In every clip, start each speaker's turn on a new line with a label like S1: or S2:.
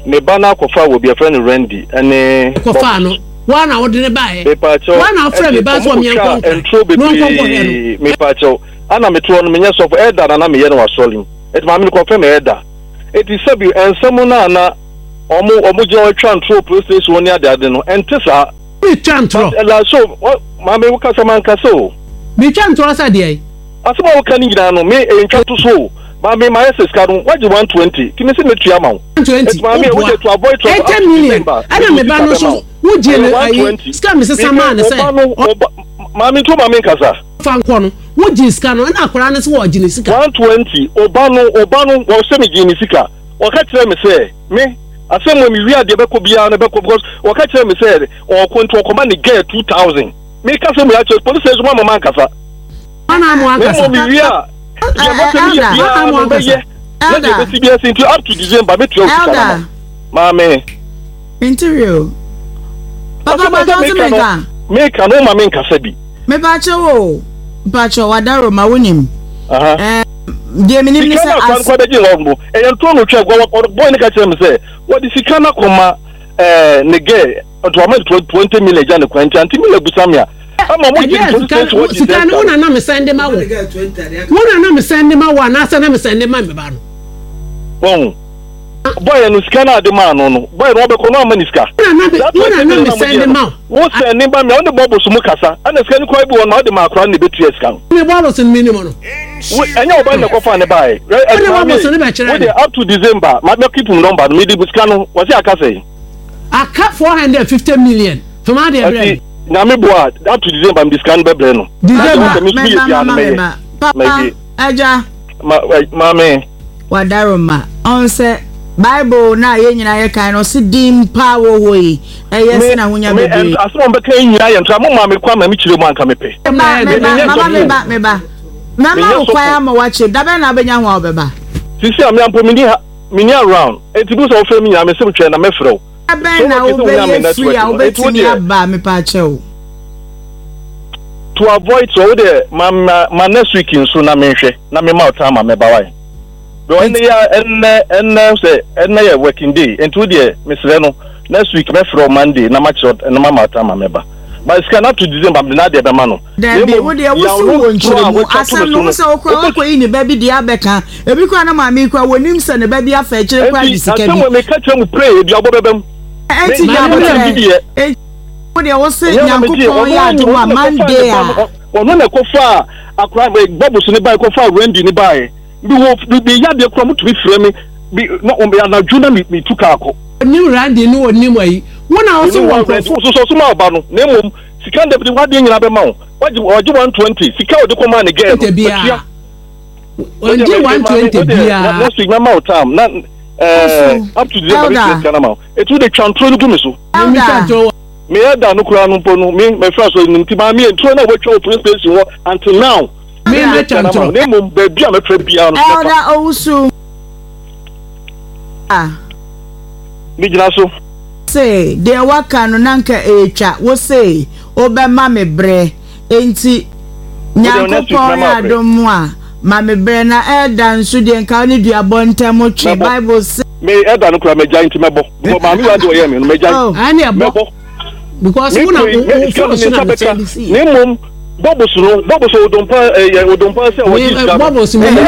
S1: Me ba no akɔfa wɔ bi yɛfrɛ no Randy ɛne.
S2: Kɔfaa no, woa na wode no baeɛ.
S1: Mepaakyɛw,
S2: Woa na wofrɛ me ba sɛ
S1: ɔmo
S2: ɔmeɛnkɔ
S1: kɔtwaa
S2: nkran
S1: nturo
S2: na ɔnkɔ nkɔhwɛ no.
S1: bebree mepaakyɛw, ana mete hɔ no menyɛ sɔfo, elder na na meyɛ no wɔ asɔre mu, enti maame no kɔfrɛ me elder. Enti sɛbi nsɛm no a na ɔmo ɔmo gyina hɔ twa nturo wɔ police station hɔ ne ade ade no, ɛnte saa.
S2: Metwa ntorɔ.
S1: But ɛla so, maame wokasa mankasa o.
S2: Metwa ntorɔ sɛ deɛn?
S1: Asɛm a woka no nyinaa no, me ɛntwa to so o. Maame mayɛ sɛ sika no wagye 120 nti mese mɛtua ama wo.
S2: 120
S1: Enti maame
S2: woboa
S1: wode to avoid trouble up
S2: 80
S1: to
S2: million
S1: December
S2: ɛna
S1: mede wo
S2: me ba
S1: sika
S2: no
S1: bɛma
S2: nso
S1: wo.
S2: wogyee
S1: Ɛyɛ
S2: no ayi
S1: 120.
S2: sika mesesa
S1: Meka
S2: maa no
S1: wo
S2: sɛ
S1: ba no wo ba maame nti woma menkasa.
S2: Fa nkɔ no wogyee sika no ɛna akwadaa no sɛ wɔgye ne sika.
S1: 120 wo ba no wo ba no wɔsɛ megyee ne sika wɔka kyerɛɛ me sɛ me asɛm wɔ mewie a deɛ ɛbɛkɔ biara no ɛbɛkɔ because wɔka kyerɛɛ me sɛ ɔɔkɔ nti ɔkɔma ne girl 2000 meka sɛ mmea kyerɛ police station mo ama mankasa.
S2: Ana mo
S1: Na
S2: ankasa.
S1: mmom mewie a, deɛ mɛpɛ meyɛ
S3: Elder.
S1: biara
S2: Ana mo
S1: no
S2: ankasa.
S1: mɛyɛ. Na deɛ
S3: Elder.
S1: ɛbɛsi biara si nti up to December mɛtua wo sika no ama
S3: Elder.
S1: wo. Maame.
S3: Mente hwee o. Papa
S1: Asɛm a
S3: mpakyɛ
S1: sɛ
S3: wo se
S1: meka no,
S3: menka?
S1: meka no woma menkasa bi.
S3: Mepakyɛ wo o. Mpakyɛ wadaroma wonim.
S1: Aha.
S3: Ɛɛ deɛ menim ne
S1: Sika
S3: sɛ
S1: no akora no
S3: as
S1: kora bɛgye hɔ no, ɛyɛ ntoro na otwa gua. Boy no ka kyerɛ me sɛ wɔde sika no akɔma ɛɛ ne girl. Nti wama no 20 million gya ne kwan nti ante Miller busa me a ama mo gye
S2: Ɛdeɛ
S1: police
S2: sika
S1: station hɔ gye
S2: sika
S1: sɛ
S2: no wo na na me sɛn de ma wo wo na na me sɛn de ma wo anaasɛ na me sɛn de ma me ba no.
S1: Wɔn bɔyɛ no sika no ade maa no no bɔyɛ no wɔbɛkɔ no ama ne sika.
S2: Wo na na me sɛn de ma
S1: wo. Wo sɛn ne ba mi a ɔne bɔbɔ so mu kasa ɛna sika no kura bi wɔ no ɔde ma akora no na ebetua sika no.
S2: Me bɔbɔ so no mi nim no.
S1: Wo ɛnyɛ ɔba na ɛkɔfa ne baeɛ.
S2: Wode bɔbɔ so no bɛkyerɛ
S1: no. Wo de up to December ma mɛ keep number no mi de sika no wɔsi aka sɛ.
S2: Aka 450 million fama adeɛ brɛ me.
S1: Nyame boa a up to December mede sika no bɛbrɛ no.
S2: December.
S3: Mɛba mama mɛba papa agya.
S1: Ma maame.
S3: Wadaroma ɔn sɛ bible na yɛn nyinaa yɛ kan no ɔsi din paa wɔ hɔ yi ɛyɛ sɛ na ahonya bebree.
S1: Asɛm a ɔbɛka yi nyinaa yɛ ntra mo maa me kwan ma me kyerɛ mu anka mepɛ.
S3: Meba meba mama meba meba mɛma wo kwan ama wakyerɛ dabɛn na abɛnya ho a wobɛba.
S1: Sisi a me ampo menni ha. Menni around enti bu sɛ wofrɛ me nyinaa mese twɛn na mɛfrɛ wo.
S3: Da bɛn na wobɛyɛ free a wobɛtumi aba mepaakyɛw.
S1: To avoid so wo deɛ ma ma ma next week nso na menhwɛ na mema wo time a mɛba wae. Because ɛnɛ yɛ ɛnɛ ɛnɛ sɛ ɛnɛ yɛ working day enti wo deɛ mesrɛ no next week mɛfrɛ wo Monday na makyerɛ na mama wo time a mɛba. But sika no up to December mede n'adeɛ bɛma no.
S3: Dabi, wo deɛ wo se wɔ nkyerɛmu asɛm no wo sɛ wo kora wakɔyi ne ba bi deɛ abɛka ebi kora na maame yi kora wɔnim sɛ ne ba bi afa akyire kora de sika bi.
S1: Enti asɛm wɔ meka kyerɛ mu pray ebi abɔ bɛbɛm.
S3: Enti nya abotrɛ enti wo deɛ wo se Nyankopɔn yɛ adom a Monday a.
S1: Ɔno na ɛkɔfaa akora bɔbos ne bae kɔfaa Randy ne bae bi wɔ bi yadeɛ kora motumi frɛ me bi na anadwo na metu kaa kɔ.
S2: Onim Randy ne onim ayi wo na wo se wɔ nkurɔfoɔ.
S1: Soso so ma ɔba no na mmom Sika no dabi de w'adeɛ nyinaa bɛma wo. Wagye wagye 120 sika a ɔde kɔmaa ne girl no watua.
S2: Ɔngye 120 biara.
S1: Next week mɛma wo time na eh, up to December bɛtua sika no ama wo. Eti wode twa ntoro no gu me so.
S3: Elder.
S1: Me elder no koraa no mpo no me mɛfra so no nti maame ntoro no a wɔatwa wɔ police station hɔ until now.
S2: Me mɛtwa ntoro.
S1: Na mmom baabi a mɛfra biara no.
S3: Elder Owusu.
S1: Megyina so.
S3: Se deɛ waka no na nka ɛretwa wo se wobɛma me berɛ enti Nyankopɔn yɛ adom a ma me berɛ na Elder nso deɛ nka wo ne duabɔ ntam twe Bible se.
S1: Me Elder no koraa magyae nti mɛbɔ because maame wei adeɛ ɔyɛɛ me no magyae mɛbɔ
S2: because wo na wo phone so na me send si.
S1: Na mmom bubbles no bubbles odompa ɛyɛ odompa sɛ wɔgye sika no
S2: bubbles mi
S1: ne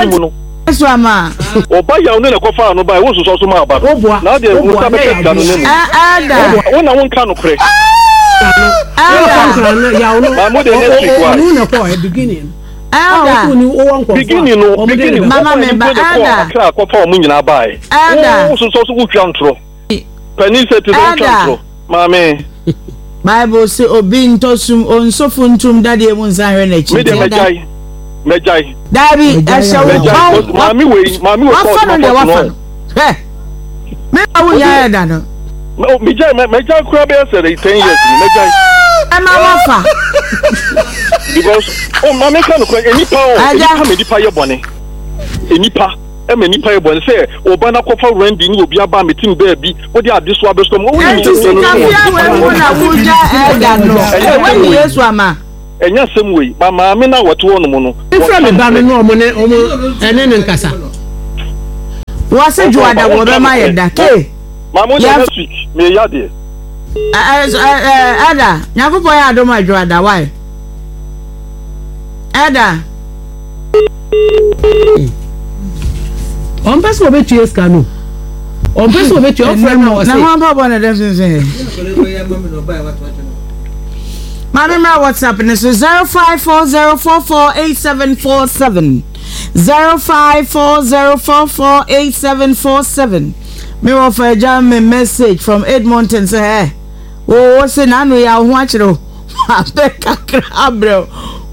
S1: mu no
S3: so ama.
S1: Ɔba yaw ne na ɛkɔfaa no bae wo nsosɔ so ma aba no na wodeɛ wo nsa bɛka sika no ne mu
S3: Elder
S1: wo na wonka nokorɛ
S3: Elder
S1: Maa mo deɛ next week why
S3: Elder
S1: beginning no beginning
S3: Mama
S1: ɔkɔ
S3: me ba
S1: mpo de kɔɔ
S3: Elder
S1: Accra kɔfa wɔn nyinaa bae
S3: Elder
S1: wo sosɔ so wotwa ntorɔ panin sɛ te sɛ wotwa
S3: Elder
S1: ntorɔ maame.
S3: Bible se obi ntɔ sum onso funtum dadeɛ mu nsan hwɛ n'akyi.
S1: Me deɛ mɛgyae mɛgyae.
S3: Daabi ɛhyɛ wo
S1: Mɛgyae maame wei maame wei
S3: wafa no deɛ wafa no hwɛ me na wo nyaa ɛda no.
S1: Megyae mɛgyae koraa bɛyɛ sɛ 10 years ni mɛgyae.
S3: Ɛma wafa.
S1: Because oh maame ka no kora enipa o enipa ma nipa yɛ bɔne enipa ɛma nipa yɛ bɔne sɛ ɔba na kɔfa Randy ne obi aba metim baabi wode ade so abɛsɔ mu ɔwɔ
S3: Enti sika fia wei mu na wogya ɛda no ɛwɔ ni Yesu ama.
S1: Ɛnyɛ asɛm wei ba maame no a wɔte hɔ nom no.
S2: Mfrɛ me ba no ne ɔmo ne ɔmo ɛne ne nkasa.
S3: Wɔse dwoada wɔbɛma yɛ da ke.
S1: Maame wo deɛ next week meyɛ adeɛ.
S3: Ɛda Nyankopɔn yɛ adom adwo ada why? Ɛda.
S2: Ɔmpɛ sɛ ɔbɛtua sika no. Ɔmpɛ sɛ ɔbɛtua ɔfrɛ no a ɔse.
S3: Na ho mpaboa na ɛdɛm sensɛn. Maame mmra WhatsApp ne so 0540448747 0540448747 Me wɔfa agya me message from Edmonton sɛ ɛ wo wo se n'ano yɛ wo ho akyerɛ wo abɛ kakra abrɛ wo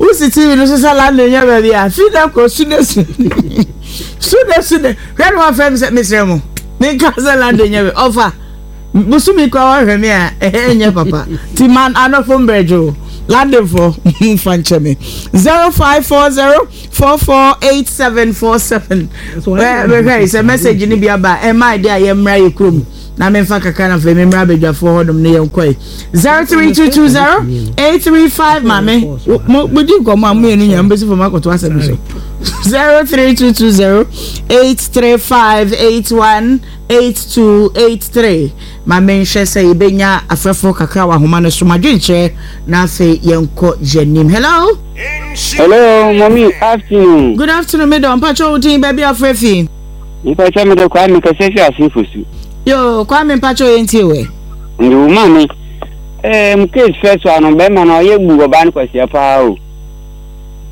S3: wosi TV no so sɛ London nyɛ baabi a fi dɛ kɔ sude sude sude sude hwɛ no wafrɛ me sɛ mesrɛ mo menka sɛ London nyɛ baabi ɔfa Bosome koraa wahwɛ me a ɛnyɛ papa ti man anɔfo mbrɛdwo Londonfo mfa nkyɛ me 0540 448747 bɛhwɛ sɛ message no bi aba ɛma ɛde a yɛmmra yɛ kurom na memfa kakra na afei memmra abadwafoɔ hɔnom ne yɛnkɔe 03220 835 maame modi nkɔmmɔ a moyɛ no nyina mobɛsi fam akɔto asɛm so 03220 835 81 8283 Ma menhwɛ sɛ yɛbɛnya afrɛfoɔ kakra wɔ ahoma no so. M'adwenkyerɛ na afei yɛnkɔ yɛnim. Hello?
S4: Hello, mommy, afternoon.
S3: Good afternoon, me dɔ. Mpakyɛ wo din baabi afrɛ fi?
S4: Mpakyɛ me de Kwame kɛsɛ fi Asenfo su.
S3: Yo, Kwame mpakyɛ yɛn tie wɛ.
S4: Ndi wo maame. Eh, mu case fɛ so ano bɛrima no ɔyɛ bu ɔbaa no kwasia paa o.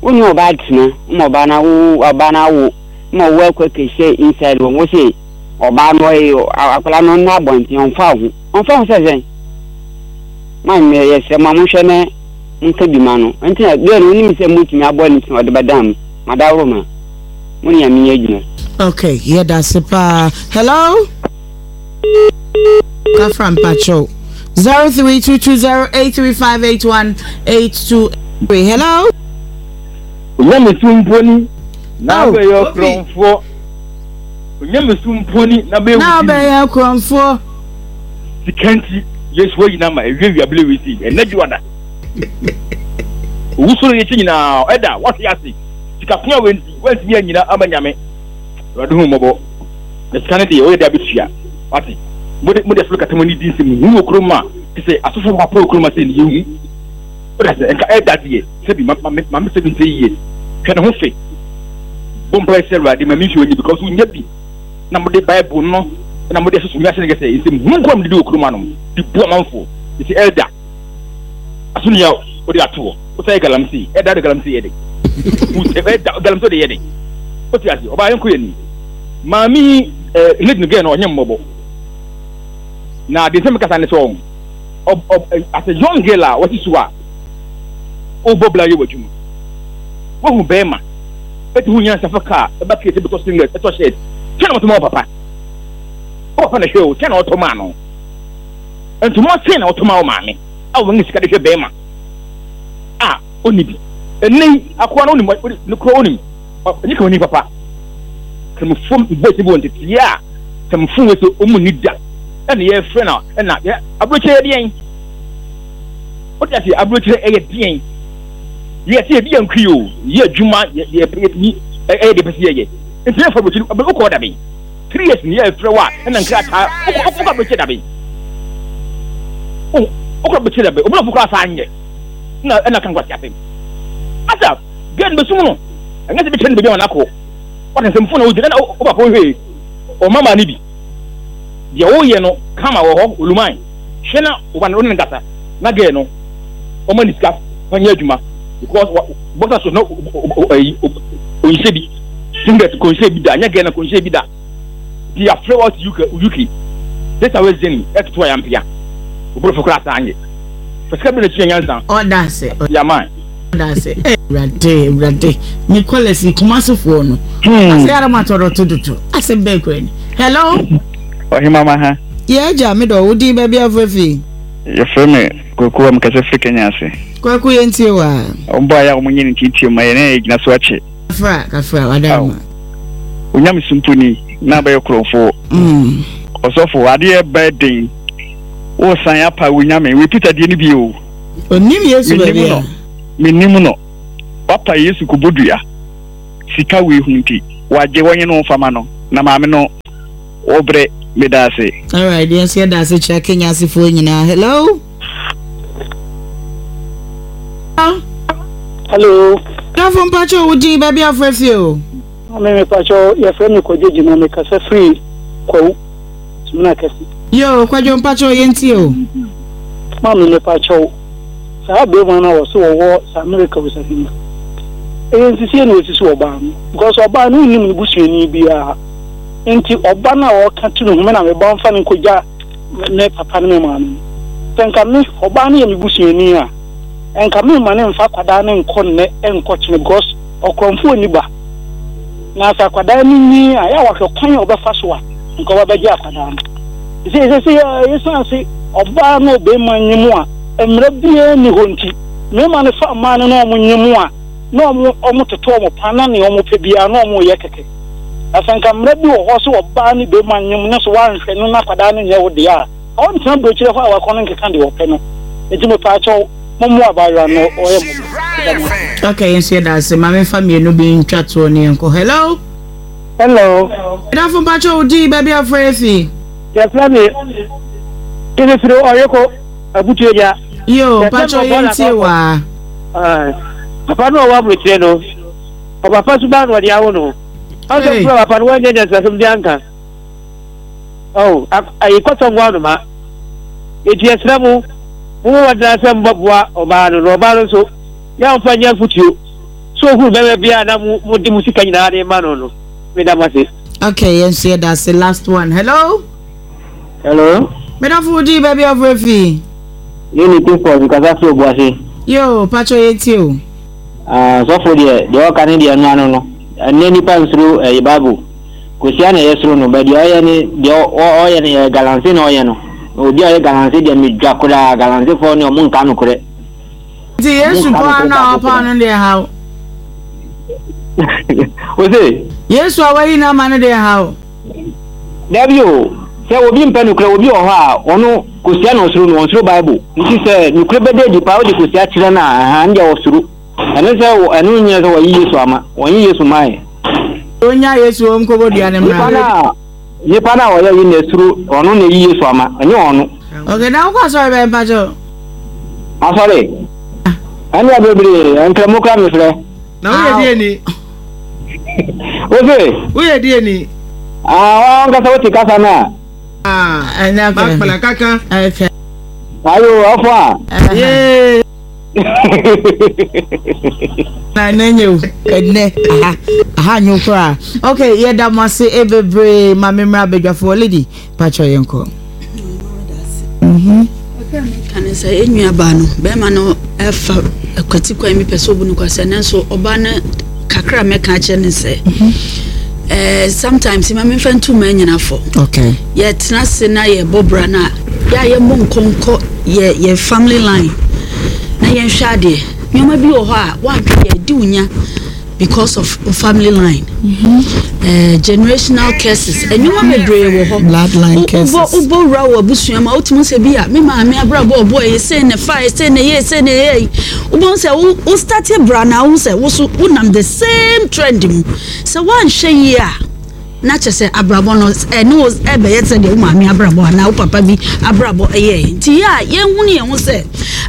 S4: Wo ne ɔbaa tena, ma ɔbaa no awo, ɔbaa no awo, ma ɔwɔ akɔ kɛhyɛ inside wɔn wo se Ɔbaa no ɔye akwadaa no ɔnna abɔnten ɔnfa wo ho ɔnfa ho sɛ sɛn ma me yɛsrɛ mo a monhwɛ na monka bi ma no nti na deɛ no wonim sɛ motumi aboa no nti na ɔde bɛdan mu madaworo ma mo ne nyame nyɛ adwuma.
S3: Okay, yɛda ase paa. Hello? Kafra mpakyɛw. 032208358182. Hello?
S5: Onyamesu mpo ni na abɛyɛ ɔkorɔmfoɔ. Onyamesu mpo ni na bɛyɛ
S3: Na abɛyɛ korɔmfoɔ.
S5: Sika nti Yesu ayi no ama ɛwiawia bere wei sei ɛnɛ dwoada. Owusɔre yi akyi nyinaa ɛda wahwe ase sika ko a wei nti wantumi anyina ama Nyame. Awurade hu mmɔbɔ. Na sika no deɛ woyɛ de abɛtua wate. Mode mode asɔre kata mo ani di nsɛm hu wɔ kurom a te sɛ asɔfo papa wɔ kurom a sɛ ne yɛhu. Wode sɛ nka ɛda deɛ sɛbi ma ma ma me sɛbi nsɛ yie. Hwɛ ne ho fe. Bɔ mpae sɛ Awurade ma me nsuo nyɛ because wonya bi na mode Bible no na mode asusu wiase no kɛsɛ nsɛm hunu nko a mede di wɔ kurom anom de bu amanfoɔ nti elder aso nea wode ato hɔ wosan yɛ galamsey elder de galamsey yɛ de elder galamsey de yɛ de wote ase ɔbaa yɛnkɔ yɛ ni maame yi eh, lady no gɛn no ɔnyɛ mmɔbɔ na deɛ nsɛm kasa ne sɛ ɔn as a young girl a wɔsi so a wobɔ bla yɛ w'adwuma wohu bɛrima ɛti ho nyansa fa kaa ɛba kee sɛ bɛtɔ singlet ɛtɔ shirt kyɛ na ɔtɔ ma wo papa wo papa na hwɛ o kyɛ na ɔtɔ maa no ntoma sɛn na ɔtɔ ma wo maame a wɔn sika de hwɛ bɛrima a ɔnni bi ɛnɛ yi akoa no onim ne kura onim ɔnyɛ kama ni papa kramofo boys bi wɔ nteteɛ a kramofo wɔ sɛ ɔmu ni da ɛna yɛfrɛ no ɛna aburokyerɛ yɛ deɛn Wote ase? Aburokyerɛ ɛyɛ deɛn? Wiase yɛdi yɛn kwi o, yɛ adwuma, yɛ yɛ yɛtumi ɛyɛ deɛ pɛ sɛ yɛyɛ. Nti yɛmfa aburokyerɛ no, wokɔɔ daben? 3 years ni yɛfrɛ wo a ɛna nkrataa, wokɔ wokɔ aburokyerɛ daben? Wokɔ aburokyerɛ daben? Obi koraa saa nyɛ. Na ɛna ka nkwasi asɛm. Asa, girl no bɛsum no. Ɛnyɛ sɛ bɛkyerɛ no baabi ama no akɔ. Wate nsɛmfo na wogyina na wo papa wohwɛ ɔma maa no bi. Deɛ woyɛ no kama wɔ hɔ, oluman. Hwɛ na wo ba no wo ne no nkasa na girl no ɔma ne sika fa nyɛ adwuma because wa boxer short na ɛyi ɔnhyɛ bi singlet kɔnhyɛ bi da nyɛ girl no kɔnhyɛ bi da ti afrɛ wa ti UK UK this away zeni ɛtoto ayampea oborɔfo koraa saa nyɛ fa sika bi na kyia nyansa
S3: ɔda ase
S5: yaman
S3: ɔda ase awurade awurade me kɔlɛsi kumasefoɔ no asɛ yàrá ma tɔrɔ to dodo asɛ bɛɛ kura ni hello.
S6: Ɔhemama ha.
S3: Yɛ agya me dɔ wo din baabi a wofrɛ fi.
S6: Yɛfrɛ me Kwaku a mekasa firi Kenya ase.
S3: Kwaku yɛn tie wo a.
S6: Wɔn bɔ ayɛ a wɔn nyɛ ne ntiatia mu ma yɛn na yɛgyina so akyɛ.
S3: Kafra kafra wada ma.
S6: Onyame sumpuni na abɛyɛ korɔmfoɔ. Mm. Ɔsɔfo adeɛ bɛyɛ den. Wosan apa wo nyame wei Peter deɛ no bi o.
S3: Onim Yesu baabi a.
S6: Menim no. Wapa Yesu kɔbɔ dua. Sika wei ho nti wagye wɔnye no mfama no na maame no wɔbrɛ. Meda ase.
S3: Alright, yɛn nso yɛda ase kyerɛ Kenya asefoɔ nyinaa. Hello.
S7: Hello.
S3: Dafo mpakyɛ wo din baabi afrɛ fie o.
S7: Maame mepakyɛ yɛfrɛ me Kwadwo Gyima mekasa firi Kwawu Sumina Kɛse.
S3: Yoo Kwadwo mpakyɛ yɛntie o.
S7: Maame mepakyɛ saa bɛrima no a wɔse wɔwɔ saa America osase mu ɛyɛ nsisie na wɔsisi ɔbaa no because ɔbaa no wonnim ne busuani biara nti ɔba no a ɔka tu ne ho me na meba mfa no nkɔgya me papa ne me maame no sɛ nka me ɔbaa no yɛ me busuani a nka me mma no mfa akwadaa no nkɔ nnɛ nkɔ kyene because ɔkorɔmfoɔ nni ba na sɛ akwadaa no nyin a yɛ a wahwɛ kwan a ɔbɛfa so a nka ɔba bɛgye akwadaa no sɛ sɛ sɛ yɛsan se ɔbaa no ɔbɛrima nye mu a mmerɛ biara nni hɔ nti mmarima no fa mmaa no na wɔn nye mu a na wɔn wɔn toto wɔn pa na nea wɔn pɛ biara na wɔn yɛ kɛkɛ na sɛ nka mmerɛ bi wɔ hɔ sɛ ɔbaa ne bɛrima nye mu na so wanhwɛ no na akwadaa no nyɛ wo deɛ a ɔntena burokyerɛ hɔ a wakɔ no nkeka deɛ ɔpɛ no nti mepaakyɛw mommoa abaayewa no ɔyɛ mmɔbɔ meda mo ase.
S3: Okay, yɛn nso yɛda ase. Ma memfa mmienu bi ntwa toɔ ne yɛnkɔ. Hello.
S7: Hello.
S3: Ɛdafo mpakyɛ wo din baabi afrɛ efi.
S7: Yɛfrɛ me Mefiri Ɔyeko Abutuagya.
S3: Yo, mpakyɛ yɛntie waa.
S7: Papa no a ɔwɔ aburokyire no, ɔpapa suban na ɔde awo no. Ɔsɛ kura papa no wɔnyɛ nyansasɛm de anka. Oh, ayi kɔtɔ nko anoma. Eti yɛsrɛ mo, mo mo wɔdena sɛ mobɛboa ɔbaa no, na ɔbaa no nso, yɛ a ɔmfa nyɛ afotuo. So ohunu bɛrima bi a na mo mo de mo sika nyinaa de ma no no, meda mo ase.
S3: Okay, yɛn nso yɛda ase. Last one. Hello.
S4: Hello.
S3: Medafo wo din baabi afrɛ fi.
S4: Unity Force kasa fi Obuasi.
S3: Yo, pacho yɛtie o.
S4: Ah, sɔfo deɛ deɛ ɔka ne deɛ ɛno ano no. Ɛnɛ nipa nsuro ɛyɛ Bible. Kosia na ɛyɛ soro no, bɛ deɛ ɔyɛ ne deɛ ɔyɛ no yɛ galamsey na ɔyɛ no. Obi a ɔyɛ galamsey deɛ medwa koraa, galamseyfoɔ ne ɔmo nka nokorɛ.
S3: Nti Yesu paa no a ɔpaa no deɛ ha wo.
S4: Ose?
S3: Yesu a wayi no ama no deɛ ha wo.
S4: Dabi o, sɛ obi mpɛ nokorɛ, obi wɔ hɔ a ɔno kosia na ɔsuro no, ɔnsuro Bible. Nti sɛ nokorɛ bɛda adi paa wode kosia kyerɛ no a, ahaa, ɛno deɛ ɔsuro. Ɛno sɛ ɛno nyɛ sɛ wɔyi Yesu ama, wɔnyi Yesu mae.
S3: Onya Yesu wɔm kɔbɔ dua ne
S4: mmra. Nipa no a nipa no a ɔyɛ yi na esuro ɔno na eyi Yesu ama, ɛnyɛ ɔno.
S3: Okay, na wokɔ asɔre bɛn mpakyɛw?
S4: Asɔre? Ɛnna bebree, nkramu kora mefrɛ.
S8: Na woyɛ deɛ ni?
S4: Wose?
S8: Woyɛ deɛ ni?
S4: Ah, wankasa wote kasa no a.
S8: Ah, makpala kaka.
S4: Ayo, ɔfo a.
S8: Yee.
S3: Na ɛnɛ nyɛ o ɛnɛ aha aha nyɛ o koraa ok yɛda mo ase e bebree ma me mmra badwafoɔ lady pakyɛ yɛn kɔ.
S9: Kakra meka ne sɛ yɛn nua baa no bɛrima no ɛfa akwati kwan bi pɛ sɛ obu no kwasɛ nanso ɔbaa no kakra mɛka akyerɛ ne sɛ ɛɛ sometimes ma memfa ntu mmaa nyina fɔ
S3: okay.
S9: yɛtena ase na yɛbɔ bra no a yɛ a yɛmmɔ nkɔnkɔ yɛ yɛ family line na yɛnhwɛ adeɛ nneɛma bi wɔ hɔ a woanhwɛ yɛ adi wo nya because of family line mm -hmm. uh, generational curses nneɛma bebree wɔ hɔ
S3: bloodline curses
S9: wobɔ wura wɔ abusua ma wotumi sɛ bi a me maame abrabɔ ɔbɔ ɛyɛ sei na fa ɛyɛ sei na ɛyɛ sei na ɛyɛ wobɛhu sɛ wo wo start bra na wohu sɛ wo so wonam the same trend mu sɛ woanhwɛ yie a na kyerɛ sɛ abrabɔ no ɛne wo ɛbɛyɛ sɛ deɛ wo maame abrabɔ anaa wo papa bi abrabɔ ɛyɛɛ nti yɛ a yɛnhunu yɛn ho sɛ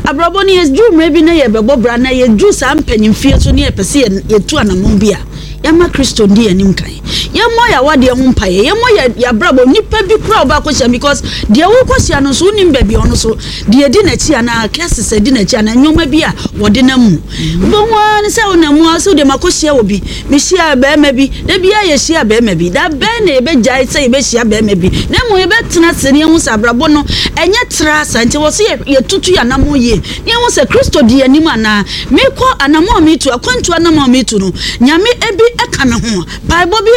S9: abrabɔ no yɛduru mmerɛ bi na yɛbɛbɔ bra na yɛduru saa mpanyimfie so ne yɛpɛ sɛ yɛtu anammɔn bi a yɛma Kristo ndi yɛn anim kan yɛmmɔ yɛn awadeɛ ho mpaeɛ yɛmmɔ yɛ yɛabrabɔ nipa bi koraa wobɛ akɔhyia because deɛ wokɔhyia no nso wonim baabi ɔno so deɛ ɛdi n'akyi anaa curses ɛdi n'akyi anaa nneɛma bi a wɔde nam mu wobɛhu ara ne sɛ wonam mu ara sɛ wodeɛ makɔhyia wɔ bi Mehyiaa barima bi. Da biara yɛhyia barima bi. Da bɛn na yɛbɛgyae sɛ yɛbɛhyia barima bi, na mmom yɛbɛtena ase na yɛahu sɛ abrabɔ no, ɛnyɛ traa saa. Nti ɛwɔ sɛ yɛtutu yɛn anammɔn yie na yɛhu sɛ Kristo di yɛn anim anaa. Mekɔ anammɔn a metu, akwantuo anammɔn a metu no, Nyame bi ka me ho. Mpaebɔ bi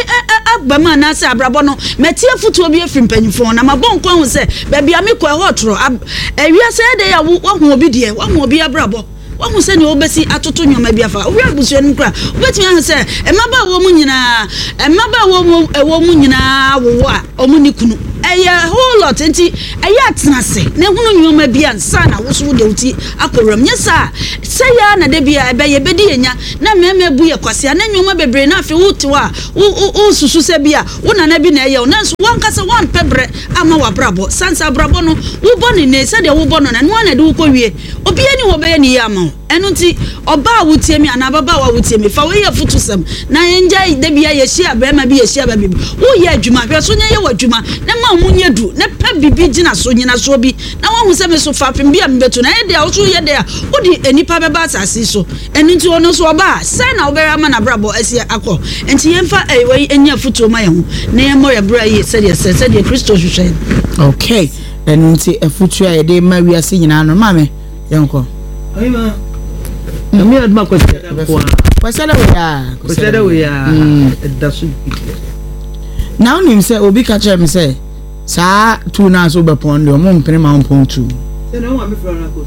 S9: aba mu anaasɛ abrabɔ no, mate afotuo bi afiri mpanyimfoɔ hɔ na mabɔ nko ahu sɛ baabi a mekɔ ɛhɔ retorɔ. Ewiase ɛyɛ dɛn a woahu obi deɛ, woahu obi abrabɔ. Woahu sɛnea wobesi atoto nneɛma bi afa? Wohwɛ abusua no mu koraa a, wobetumi ahu sɛ mmabaawa mu nyinaa, mmabaawa mu ɛwɔ mu nyinaa wowo a wɔn nni kunu. Ɛyɛ whole lot. short. Enti ɛyɛ a tena ase na hunu nneɛma bi ansa na wo nso wode wo ti akɔ wuram. Nyɛ saa a, sɛe ara na da biara ɛbɛyɛ, ɛbɛdi yɛn nya na mmarima abu yɛn kwasea na nneɛma bebree na afei wote hɔ a wo wo wosusu sɛ bi a wo nana bi na ɛyɛ wo nanso w'ankasa woampɛ berɛ amma w'abrabɔ. Sane sɛ abrabɔ no wobɔ no nnɛ sɛdeɛ wobɔ no no ɛno ara na ɛde wo kɔwie. Obiara nni hɔ a ɔbɛyɛ no yie ama wo. Ɛno nti, ɔbaa a wotie me anaa ababaawa a wotie me, fa wei yɛ afotusɛm, na yɛngyae da biara yɛhyia barima bi, yɛhyia baa bi. Woreyɛ adwuma, hwɛ so na yɛ w'adwuma, na ma wo mu nyɛ duru, na pɛ biribi gyina so, nnyinasoɔ bi, na woahu sɛ me so fapem bi a mebɛtu no. Ɛyɛ dɛ a, wo nso woyɛ dɛ a, wode nnipa bɛba asase yi so. Ɛno nti, ɔno nso ɔba a, sɛn na wobɛyɛ ama n'abrabɔ asi akɔ? Enti yɛmfa wei nyɛ afotuo ma yɛn ho, na yɛmmɔ yɛn bra yie sɛdeɛ ɛsɛ, sɛdeɛ Kristo hwehwɛ yɛn.
S3: Okay, ɛno nti afotuo a yɛde ma wiase nyinaa no, maame. Yɛnkɔ.
S8: Ɔhema, Nyame adom a Kwasiada nko ara.
S3: Kwasiada wei a.
S8: Kwasiada wei a ɛda so bi.
S3: Na wonim sɛ obi ka kyerɛ me sɛ saa tu no a so wobɛpɔn deɛ ɔmo mpene ma wompɔn tu.
S8: Sɛ na wɔn a mefrɛ no akɔ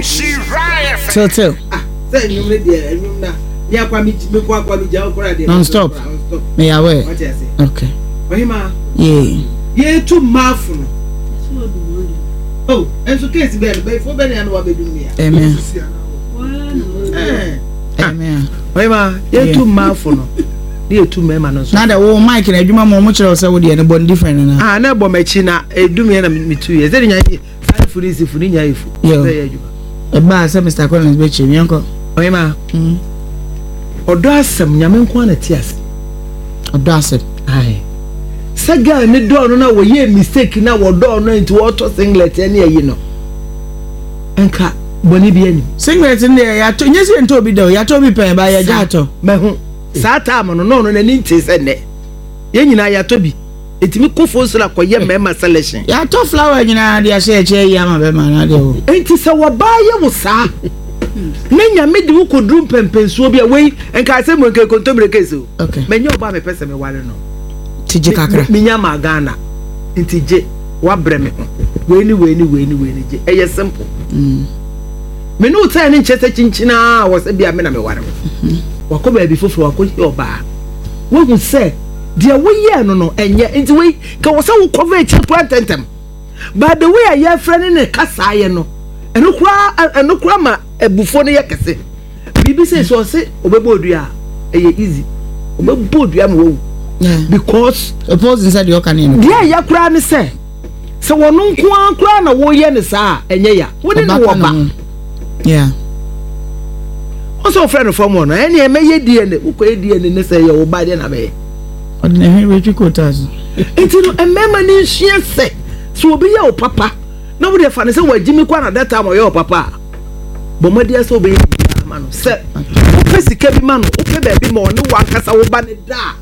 S8: fie.
S3: Tiltil.
S8: Ah, sɛ nnwom no deɛ nnwom na me akwa me me kɔ akwa me gya okora deɛ.
S3: Non stop. Me yɛ aware. Okay.
S8: Ɔhema.
S3: Yeah.
S8: Yɛtu mmaafo no. Oh, nso case bɛn no bɛyifo bɛn na wabɛdum mi a.
S3: Amen. Amen.
S8: Ɔyɛma yɛtu mmaafo no ne yɛtu mmarima no nso.
S3: Na de wo mic na adwuma mu ɔmo kyerɛ wo sɛ wo deɛ no bɔ no different nana.
S8: Ah na ɛbɔ m'akyi na edum yɛ na metu yɛ sɛ de nya yɛ saa fu ne si fu ne nya yɛ fu.
S3: Yo. Sɛ yɛ adwuma. Ɛbaa sɛ Mr Collins bɛkyerɛ mi yɛnkɔ.
S8: Ɔyɛma. Mm. Ɔdɔ asɛm nyame nko ara na te ase.
S3: Ɔdɔ asɛm.
S8: Aye. Sɛ girl ne dɔɔ no na wɔyɛɛ mistake na wɔdɔɔ no nti wɔtɔ singlet ne ayi no nka bɔne bi anim.
S3: Singlet no deɛ yɛatɔ nyɛ sɛ yɛntɔ obi da o yɛatɔ obi pɛn ba yɛgya atɔ.
S8: Mahu saa time no na ɔno n'ani ntee sɛ nnɛ yɛn nyinaa yɛatɔ bi ɛtumi kɔ fo so na kɔyɛ mmarima selection.
S3: Yɛatɔ flower nyinaa de ahyɛ akyire ayi ama bɛrima no adeɛ o.
S8: Nti sɛ wɔbaa yɛ wo saa na nyame de wo kɔduru mpɛmpɛnsuo bi a wei nka asɛm mu nka kontommire case o.
S3: Okay.
S8: Manya ɔbaa mepɛ sɛ meware no.
S3: Ti gye kakra.
S8: Menya maa Ghana. Nti gye wabrɛ me ho. Wei ne wei ne wei ne wei ne gye. Ɛyɛ simple. Mm. Me ne wo tɛn ne nkyɛ sɛ kyinkyinaa wɔ sɛ bia me na meware wo. Mm-hmm. Wakɔ baabi foforɔ wakɔ hyia ɔbaa. Wahu sɛ deɛ woyɛɛ no no ɛnyɛ nti wei ka wɔ sɛ wokɔva akyiri koraa ntɛntɛm. But the way a yɛfrɛ ne ne kasaeɛ no ɛno koraa ɛno koraa ma abufuo no yɛ kɛse. Biribi sɛ sɛ ɔse ɔbɛbɔ odua a ɛyɛ easy ɔbɛbɔ odua ma wawu because
S3: opposing sɛ deɛ ɔka ne
S8: no deɛ ɛyɛ koraa ne sɛ sɛ wɔn nko ara koraa na wɔyɛ ne saa a ɛnyɛ ya wo ne no wɔ ba wɔn sɛ ɔfrɛ no fam hɔ no ɛne ɛmɛyɛ DNA wokɔyɛ DNA ne sɛ ɛyɛ wo ba deɛ na bɛyɛ
S3: ɔde ne hwene bɛtwi kootaa so
S8: nti no mmarima no nsua sɛ sɛ obi yɛ wo papa na wode fa no sɛ wagyi me kɔ na that time ɔyɛ wo papa a Bɔ mmɔden sɛ wobɛyɛ biribiara ama no. Sɛ wopɛ sika bi ma no, wopɛ baabi ma ɔne w'ankasa wo ba no da a,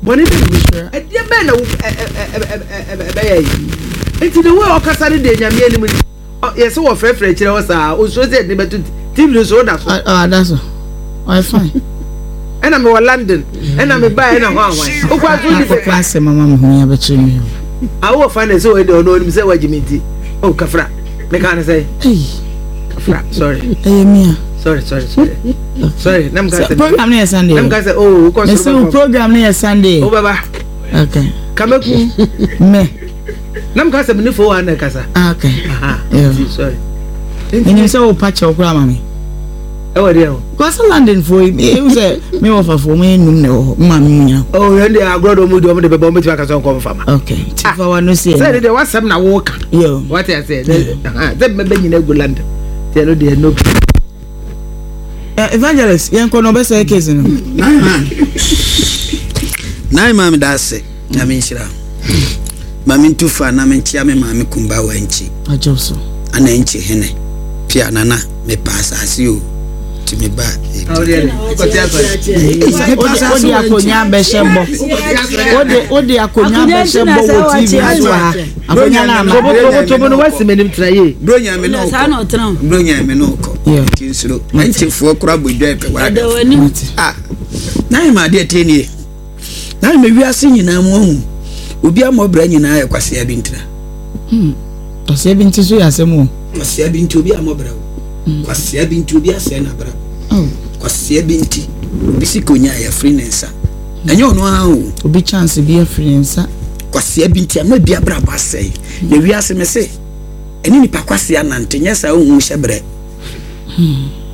S8: bɔne bɛn na wobɛyɛ? Ɛdeɛ bɛn na ɛbɛyɛ yi? Nti the way ɔkasa no deɛ Nyame anim ni. Yɛsɛ wɔfrɛfrɛ akyirɛ hɔ saa, osuro sɛ yɛde no bɛto TV no so, woda so.
S3: Ɔda so. Ɔyɛ fine.
S8: Ɛna mewɔ London, ɛna mebaeɛ na hɔ ahwan. Wokɔ aso ni sɛ.
S3: Akɔpɛ asɛm ama me ho ya bɛkyerɛ me.
S8: Awɔ fa ne sɛ ɔyɛ deɛ ɔno ɔnim sɛ wagye me nti. Oh, kafra. Meka ne sɛ. Kafra, sorry.
S3: Ɛyɛ mi a.
S8: Sorry, sorry, sorry. Sorry, nam ka sɛ.
S3: Program no yɛ Sunday.
S8: Nam ka sɛ, oh, wokɔ
S3: soro bɛkɔ. Program no yɛ Sunday.
S8: Wo bɛba.
S3: Okay.
S8: Kameku.
S3: Me.
S8: Nam ka sɛ me ne fo wa na kasa.
S3: Ah, okay.
S8: Aha. Yeah. Sorry.
S3: Menim sɛ wo pa kyɛw koraa ma me.
S8: Ɛwɔ deɛ o.
S3: Kwasi London fo yi, ehu sɛ me wɔ fa fo, mo yɛ num na ɛwɔ hɔ, mo maame mu nyina.
S8: Oh, yɛn deɛ agorɔ de ɔmo di ɔmo de bɛbɔ ɔmo betumi akasa ɔnkɔ nfa ma.
S3: Okay, ti fa wa no si
S8: ɛna. Sɛ deɛ wasɛm na wɔka.
S3: Yo.
S8: Wate ase sɛ sɛ mbɛbɛ nyina gu London. Tiɛ no deɛ no.
S3: Evangelist, yɛn kɔ na ɔbɛsɛe case no.
S10: Nine man da ase. Nyame nhyira. Ma me ntu fa na menkyea me maame Kumba wɔ Ankyi.
S3: Agyew so.
S10: Ana Ankyi hene. Pia nana mepa asase o. Ti me ba.
S3: Wode akonya bɛhyɛ bɔ. Wode wode akonya bɛhyɛ bɔ wɔ TV so ha. Akonya na ama.
S8: Tobo tobo no wasi m'anim tena yie.
S10: Bro nya me no kɔ. Bro nya me no kɔ. Ti nsuro. Ankyifoɔ kora bɔ dwa pɛ wara. Ah. Na yɛ ma adeɛ tie nie. Na mɛ wiase nyinaa mu ahu obi ama ɔbra nyinaa yɛ kwasea bi ntira.
S3: Hmm. Kwasea bi nti so yɛ asɛm o.
S10: Kwasea bi nti obi ama ɔbra o. Hmm. Kwasea bi nti obi asɛe n'abra. Oh. Kwasea bi nti obi sika onya yɛ afiri ne nsa. Ɛnyɛ ɔno ara o.
S3: Obi chance bi afiri ne nsa.
S10: Kwasea bi nti ama bi abrabɔ asɛe. Na wiase me se, ɛne nipa kwasea nante, nyɛ saa wohu hyɛ berɛ.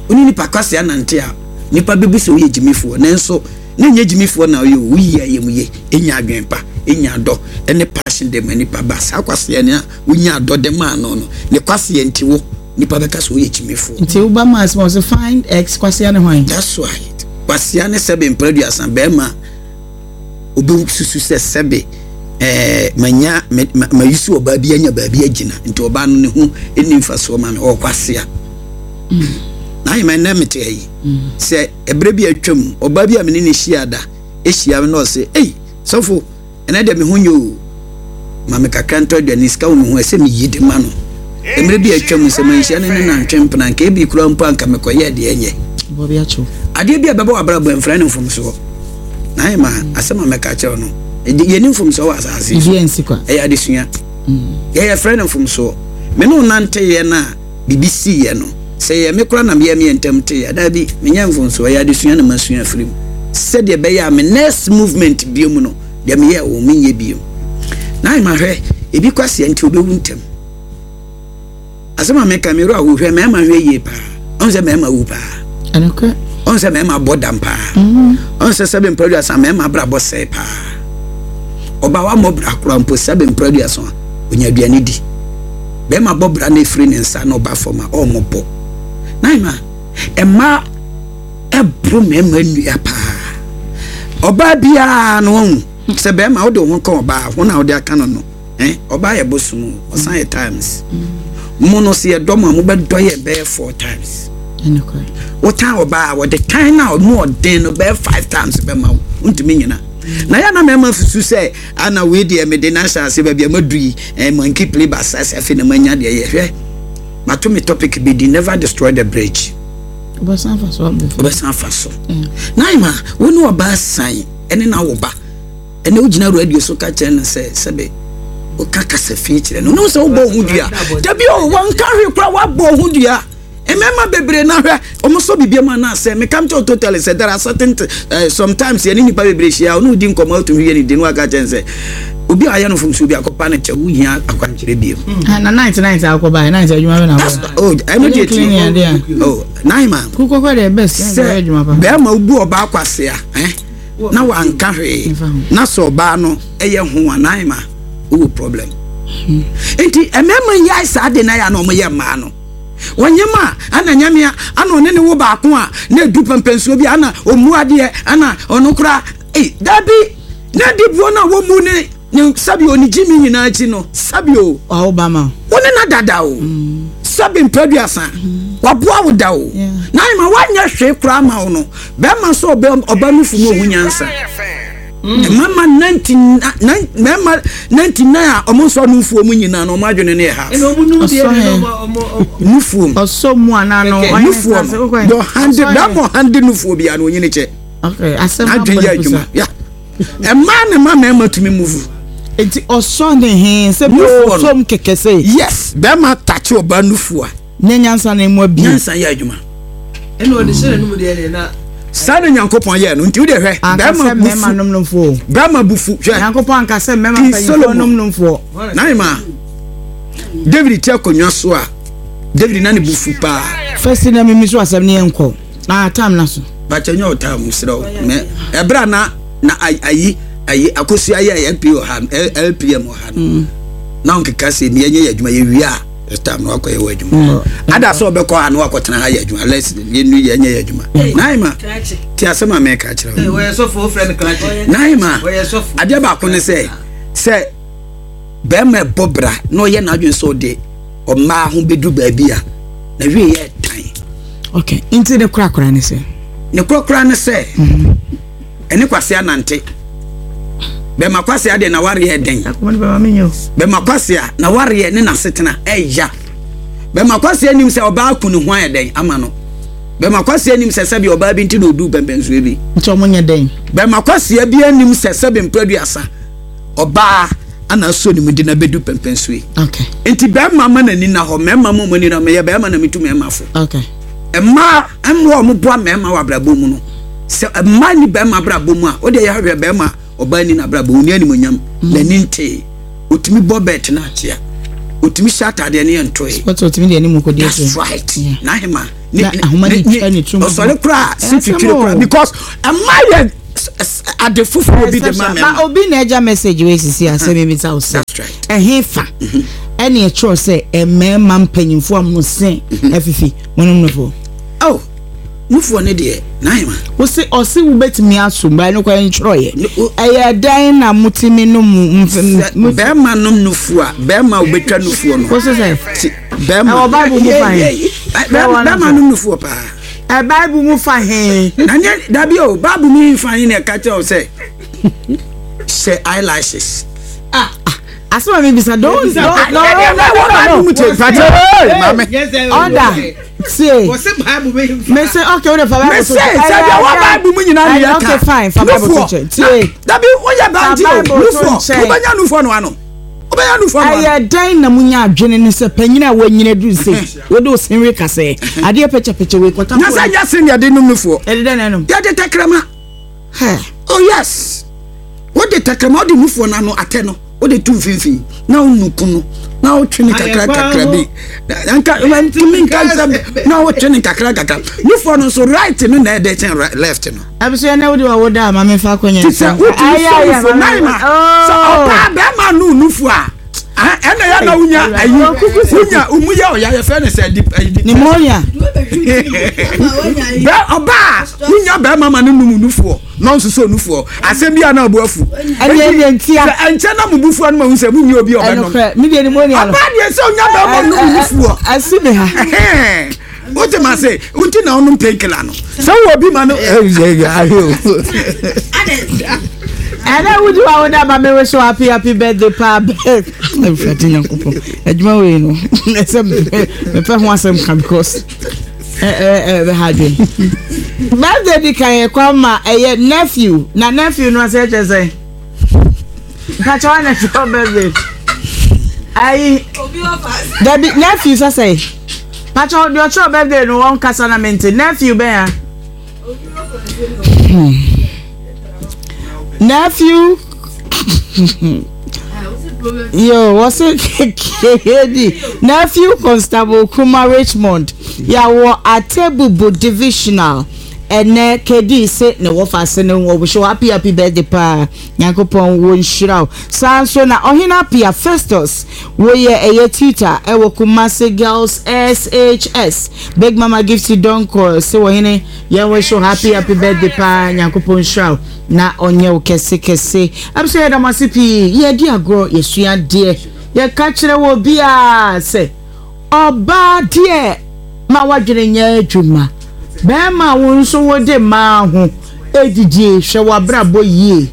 S10: Wo ne nipa kwasea nante a, nipa bɛbu sɛ woyɛ gyimifoɔ, nanso na ɛnyɛ gyimifoɔ na woyɛ o, woyi ayamye, nya adwene pa, nya dɔ ne passion de ma nipa ba. Saa kwasea no a wonya dɔ de maa no no, ne kwasea nti wo, nipa bɛka sɛ woyɛ gyimifoɔ.
S3: Nti woba mass ma ɔse find ex kwasea ne hwan?
S10: That's right. Kwasea ne sɛbe mpra aduasa, bɛrima Obesusu sɛ sɛbe ɛɛ manya me ma mayusu ɔbaa bi anya baabi agyina nti ɔbaa no ne ho nni mfasoɔ ma me ɔwɔ kwasea. Mm. Na ayɛ ma ɛnɛ mete ha yi mm. sɛ ɛberɛ bi atwam ɔbaa bi a me ne ne hyia da ɛhyia me na ɔse ei sɔfo ɛnɛ deɛ me ho nyɛ o ma me kakra ntɔ aduane sika wɔ me ho ɛsɛ meyi de ma no mmerɛ bi a atwa mu sɛ manhyia no ne nantwe mpena nka ebi kura mpo anka mekɔyɛ deɛ ɛnyɛ adeɛ bi a ɛbɛbɔ w'abrabɔ mfrɛ no mfomsoɔ na ayɛ ma asɛm a mɛka kyerɛ no yɛni mfomsoɔ wɔ asase so ɛyɛ adesua mm. yɛyɛ frɛ no mfomsoɔ me ne wo nanteeɛ no a biribi siiɛ no sɛ yɛ me kora na meyɛ meyɛ ntam teeɛ daabi menyɛ mfomsoɔ ɛyɛ adesua na masua afiri mu sɛdeɛ ɛbɛyɛ a me next movement bio mu no Deɛ meyɛɛ wo menyɛ bio. Na ayɛ ma hwɛ ebi kwasea nti obewu ntɛm. Asɛm a meka me werɛ ahow hwɛ mmarima hwɛ yie paa. Ɔn sɛ mmarima wu paa.
S3: Ɛnokorɛ.
S10: Ɔn sɛ mmarima bɔ dam paa. Mm. Ɔn sɛ sɛbe mprɛduasa mmarima abrabɔ sɛe paa. Ɔba wa mmɔ bra koraa mpo sɛbe mprɛduasa a onya aduane di. Bɛrima bɔ bra na efiri ne nsa na ɔba fam a ɔmmɔbɔ. Na ayɛ ma mmaa ɛboro mmarima nnua paa. Ɔbaa biara no ɔhu sɛ bɛrima wode wo ho ka ɔbaa ho na wode aka no no eh ɔbaa yɛ bosom o ɔsan yɛ times mo no sɛ yɛdɔ mo a mobɛdɔ yɛ bɛyɛ four times wotan ɔbaa a wɔde tan no a ɔmu ɔden no bɛyɛ five times bɛma wo wontumi nyina na yɛ na mmarima susu sɛ ana wei deɛ mede no ahyɛ ase baabi a madu yi eh, monkey play basa sɛ afei na manya deɛ yɛhwɛ mato me topic bi di never destroy the bridge
S3: Wobɛsan afa so abɔ.
S10: Wobɛsan afa so. Na ma wo ne ɔbaa san ɛne na wo ba ɛne wogyina radio so ka kyerɛ no sɛ sɛbe woka kasa fi kyerɛ no. Wonim sɛ wobɔ ho dua. Dabi o, wɔnka hwee koraa woabɔ ho dua. Mmarima bebree na hwɛ wɔn sɔ biribi mu anaasɛ meka kyerɛ totally sɛ there are certain uh, sometimes yɛne nipa bebree hyia ɔne wodi nkɔmmɔ atumi yɛ ne di no waka kyerɛ sɛ obi a ayɛ no mfomsoɔ bi akɔpa no kyɛ wohia akwankyerɛ bio
S3: hmm. ah, na night night akɔ ba night adwuma bɛ na
S10: akɔ oh ɛno deɛ ti oh nine man
S3: kukɔkɔ deɛ best
S10: sɛ bɛrima wobu ɔbaa kwasea eh na wanka hwee na sɛ ɔbaa no ɛyɛ ho a nine man wowɔ problem hmm. nti mmarima yi ayɛ saa de na yɛ a na wɔyɛ mmaa no wɔnyɛ ma ana nyamea ana ɔne ne wo baako a na edu pɛmpɛnsuo bi ana ɔmu adeɛ ana ɔno koraa ei dabi Na di buo no a wɔmmu ne ne sɛbi o ne gyimi nyinaa akyi no sɛbi o.
S3: Ɔwo ba ma.
S10: Wo ne na dada o. Mm. Sɛbi mpɛduasa. Mm. Waboa wo da o. Na ayɛ ma wanyɛ hwee koraa ma wo no. Bɛrima nso ɔbɛ ɔba nufu mu ohu nyansa. Mm. Mmarima 99 mmarima 99 a wɔn nso nufuo mu nyinaa no wɔn adwene no yɛ half. Nufuo mu.
S3: Ɔsɔ mu anaa no.
S10: Nufuo no. Deɛ ɔhande bɛrima ɔhande nufuo biara no onyini kyɛ. N'adwene yɛ adwuma. Ya. Mmaa na ma mmarima tumi move.
S3: Nti ɔsɔ ne he sɛ bi ɔsɔm kɛkɛ sɛ.
S10: Yes, bɛrima takye ɔbaa nufu a.
S3: Ne nyansa na emu abie.
S10: Nyansa yɛ adwuma.
S8: Ɛna ɔde hyɛ n'anum deɛ deɛ na.
S10: Saa na Nyankopɔn yɛɛ no nti wode hwɛ.
S3: Bɛrima bufu nom nomfoɔ.
S10: Bɛrima bufu hwɛ.
S3: Nyankopɔn anka sɛ mmarima mpanyinfoɔ nom nomfoɔ.
S10: Naima David ti akonnwa so a David na ne bufu paa.
S3: Fɛsi na mimi so asɛm ne yɛn kɔ. Ah, time na so.
S10: Bakyɛ nyɛ ɔtaa mu serɛ wo. Mɛ ɛberɛ a na na ayi ayi akosua yɛ LP wɔ ha LPM wɔ ha no. Mm. Na ɔnkeka sɛ mi yɛnyɛ yɛ adwuma yɛwie a ɛtam na wakɔyɛ wɔ adwuma. Mm. Ada sɛ ɔbɛkɔ ha na wakɔtena ha yɛ adwuma. Let's yɛnu yɛnyɛ yɛ adwuma. Naima ti asɛm a mɛka kyerɛ wo. Naima adeɛ baako ne sɛ sɛ Barima ɛbɔ bra na ɔyɛ n'adwene sɛ ɔde ɔmmaa ho bɛdu baabi a na wie yɛ tan.
S3: Ok, nti ne korakora ne sɛ?
S10: Ne korakora ne sɛ, mhm. ɛne kwasea nante. Bɛma kwasea deɛ na wareɛ den. Bɛma kwasea na wareɛ ne n'asetena ɛya. Bɛma kwasea nim sɛ ɔbaa ku ne ho ayɛ dɛn ama no. Bɛma kwasea nim sɛ sɛbi ɔbaa bi nti na ɔduu pɛmpɛnsoɔ bi.
S3: Nti ɔmo nyɛ dɛn?
S10: Bɛma kwasea bi anim sɛ sɛbi mprɛduasa. Ɔbaa ana asɔ ne mu de no abɛdu pɛmpɛnsoɔ yi.
S3: Okay.
S10: Nti bɛrima ma n'ani na hɔ, mmarima ma wɔn ani na meyɛ bɛrima na metu mmarima fo.
S3: Okay.
S10: Mmaa mmoa a wɔboa mmarima wɔ abrabɔ mu no, sɛ mmaa ni bɛrima abrabɔ mu a, o deɛ yɛhwehwɛ bɛrima ɔbaa ni n'abrabɔ mu, ni animonyam, mm. n'ani ntee, otumi bɔ bɛɛt na akyea. Otumi hyɛ ataadeɛ ne yɛ ntoe.
S3: Wɔte otumi deɛ ne mu kɔ di
S10: akyire. That's right. N'ahema.
S3: Na ahoma de twa ne tirim.
S10: Ɔsɔre koraa si twitwiri koraa because ɛma yɛ ade foforɔ bi de ma mɛma.
S3: Ba obi na ɛgya message wei sisi asɛm ebi sa ɔsɛ. Ɛhe fa ɛne ɛkyerɛ sɛ mmarima mpanyinfoɔ a mo se afifi mo nom no fo.
S10: Oh. Nufoɔ no deɛ, n'ahema.
S3: Wose ɔse wobɛtumi asom but ɛno koraa ntwerɛeɛ. Ɛyɛ dɛn na motumi nom
S10: Sɛ bɛrima nom nufoɔ a, bɛrima a wobɛtwa nufoɔ no.
S3: Wose sɛ?
S10: Ti bɛrima.
S3: Ɛwɔ Bible mu fa he?
S10: Bɛrima nom nufoɔ paa.
S3: Ɛ Bible mu fa he?
S10: Na nyɛ dabi o, Bible mu fa he na ɛka kyerɛ wo sɛ hyɛ eyelashes.
S3: Ah, asɛm a mebisa don't don't no no no no no order. Tie. Me se okay, wo de fa Bible to.
S10: Me se sɛ deɛ wɔ Bible mu nyinaa ne yɛ ka.
S3: Okay fine, fa Bible to nkyɛn. Tie.
S10: Dabi woyɛ ba nti o, nufoɔ, wobɛnya nufoɔ no ano. Wobɛnya nufoɔ no ano.
S3: Ɛyɛ dɛn na munya adwene ne sɛ panyin a wanyini aduru sei, wode wo senwe kasɛɛ, adeɛ pɛkyɛpɛkyɛ wei kɔta.
S10: Na sɛ nyɛ sen yɛde nom nufoɔ.
S3: Yɛde dɛn na ɛnom?
S10: Yɛde tɛkrɛma. Oh yes. Wode tɛkrɛma wode nufoɔ no ano atɛ no. Wode to mfimfini na wonuku no na wotwe no kakra kakra bi nka ntumi nka nsɛm na wotwe no kakra kakra nufoɔ no nso right no na ɛdɛ kyɛn left no.
S3: Abusua na wode wa woda a maame fa akɔnya.
S10: Ti sɛ wotumi sɔ nufoɔ nan ma sɛ ɔbaa bɛrima no nufoɔ a ɛna yɛ na wonya ayi wonya ɔmu yɛ ɔya yɛfrɛ no sɛ
S3: pneumonia.
S10: Bɛ ɔbaa wonya bɛrima ma no num nufoɔ. Na ɔnsusu onufoɔ asɛm bi a na ɔbo afu.
S3: Ɛnneɛ ɛnneɛ ntia.
S10: Sɛ ɛnkyɛ na mo bu fuo no ma hu sɛ mo nni obi a ɔbɛnom.
S3: Ɛnokorɛ me deɛ pneumonia no.
S10: Ɔbaa deɛ sɛ onya bɛrima nom nufoɔ.
S3: Asi me ha.
S10: Wote ma se wonti na ɔnom painkiller no. Sɛ wowɔ bi ma no.
S3: Ɛnɛ wodi wa woda ma me wish happy happy birthday paa bɛɛ. Awurade Nyankopɔn adwuma wei no ɛsɛ mepɛ ho asɛm ka because. ɛbɛha adwene birthday di kan yɛ kwan ma ɛyɛ nephew na nephew no asɛ kyerɛ sɛ mpakyɛ wa nephew birthday ayi dabi nephew sɛ sɛ mpakyɛ deɛ ɔkyerɛ birthday no wɔn kasa na mente nephew bɛn a Nephew. Yo, what's it? KD. Nephew Constable Kuma Richmond. Ya wɔ Atebubu Divisional. Ɛnɛ KD se ne wɔfa ase ne wɔ wish happy happy birthday paa. Nyankopɔn wɔ nhyira wo. Saa nso na Ɔhene Apia Festus woyɛ ɛyɛ tutor ɛwɔ Kumasi Girls SHS. Big Mama Gifty Donkor se wɔhene Yɛn wish wo happy happy birthday paa Nyankopɔn nhyira wo na ɔnyɛ wo kɛse kɛse. Abusua yɛda mo ase pii yɛdi agorɔ yɛsua adeɛ yɛka kyerɛ wɔ biara sɛ ɔbaa deɛ ma wadwene nyɛ adwuma bɛrima wo nso wode mmaa ho edidie hwɛ w'abrabɔ yie.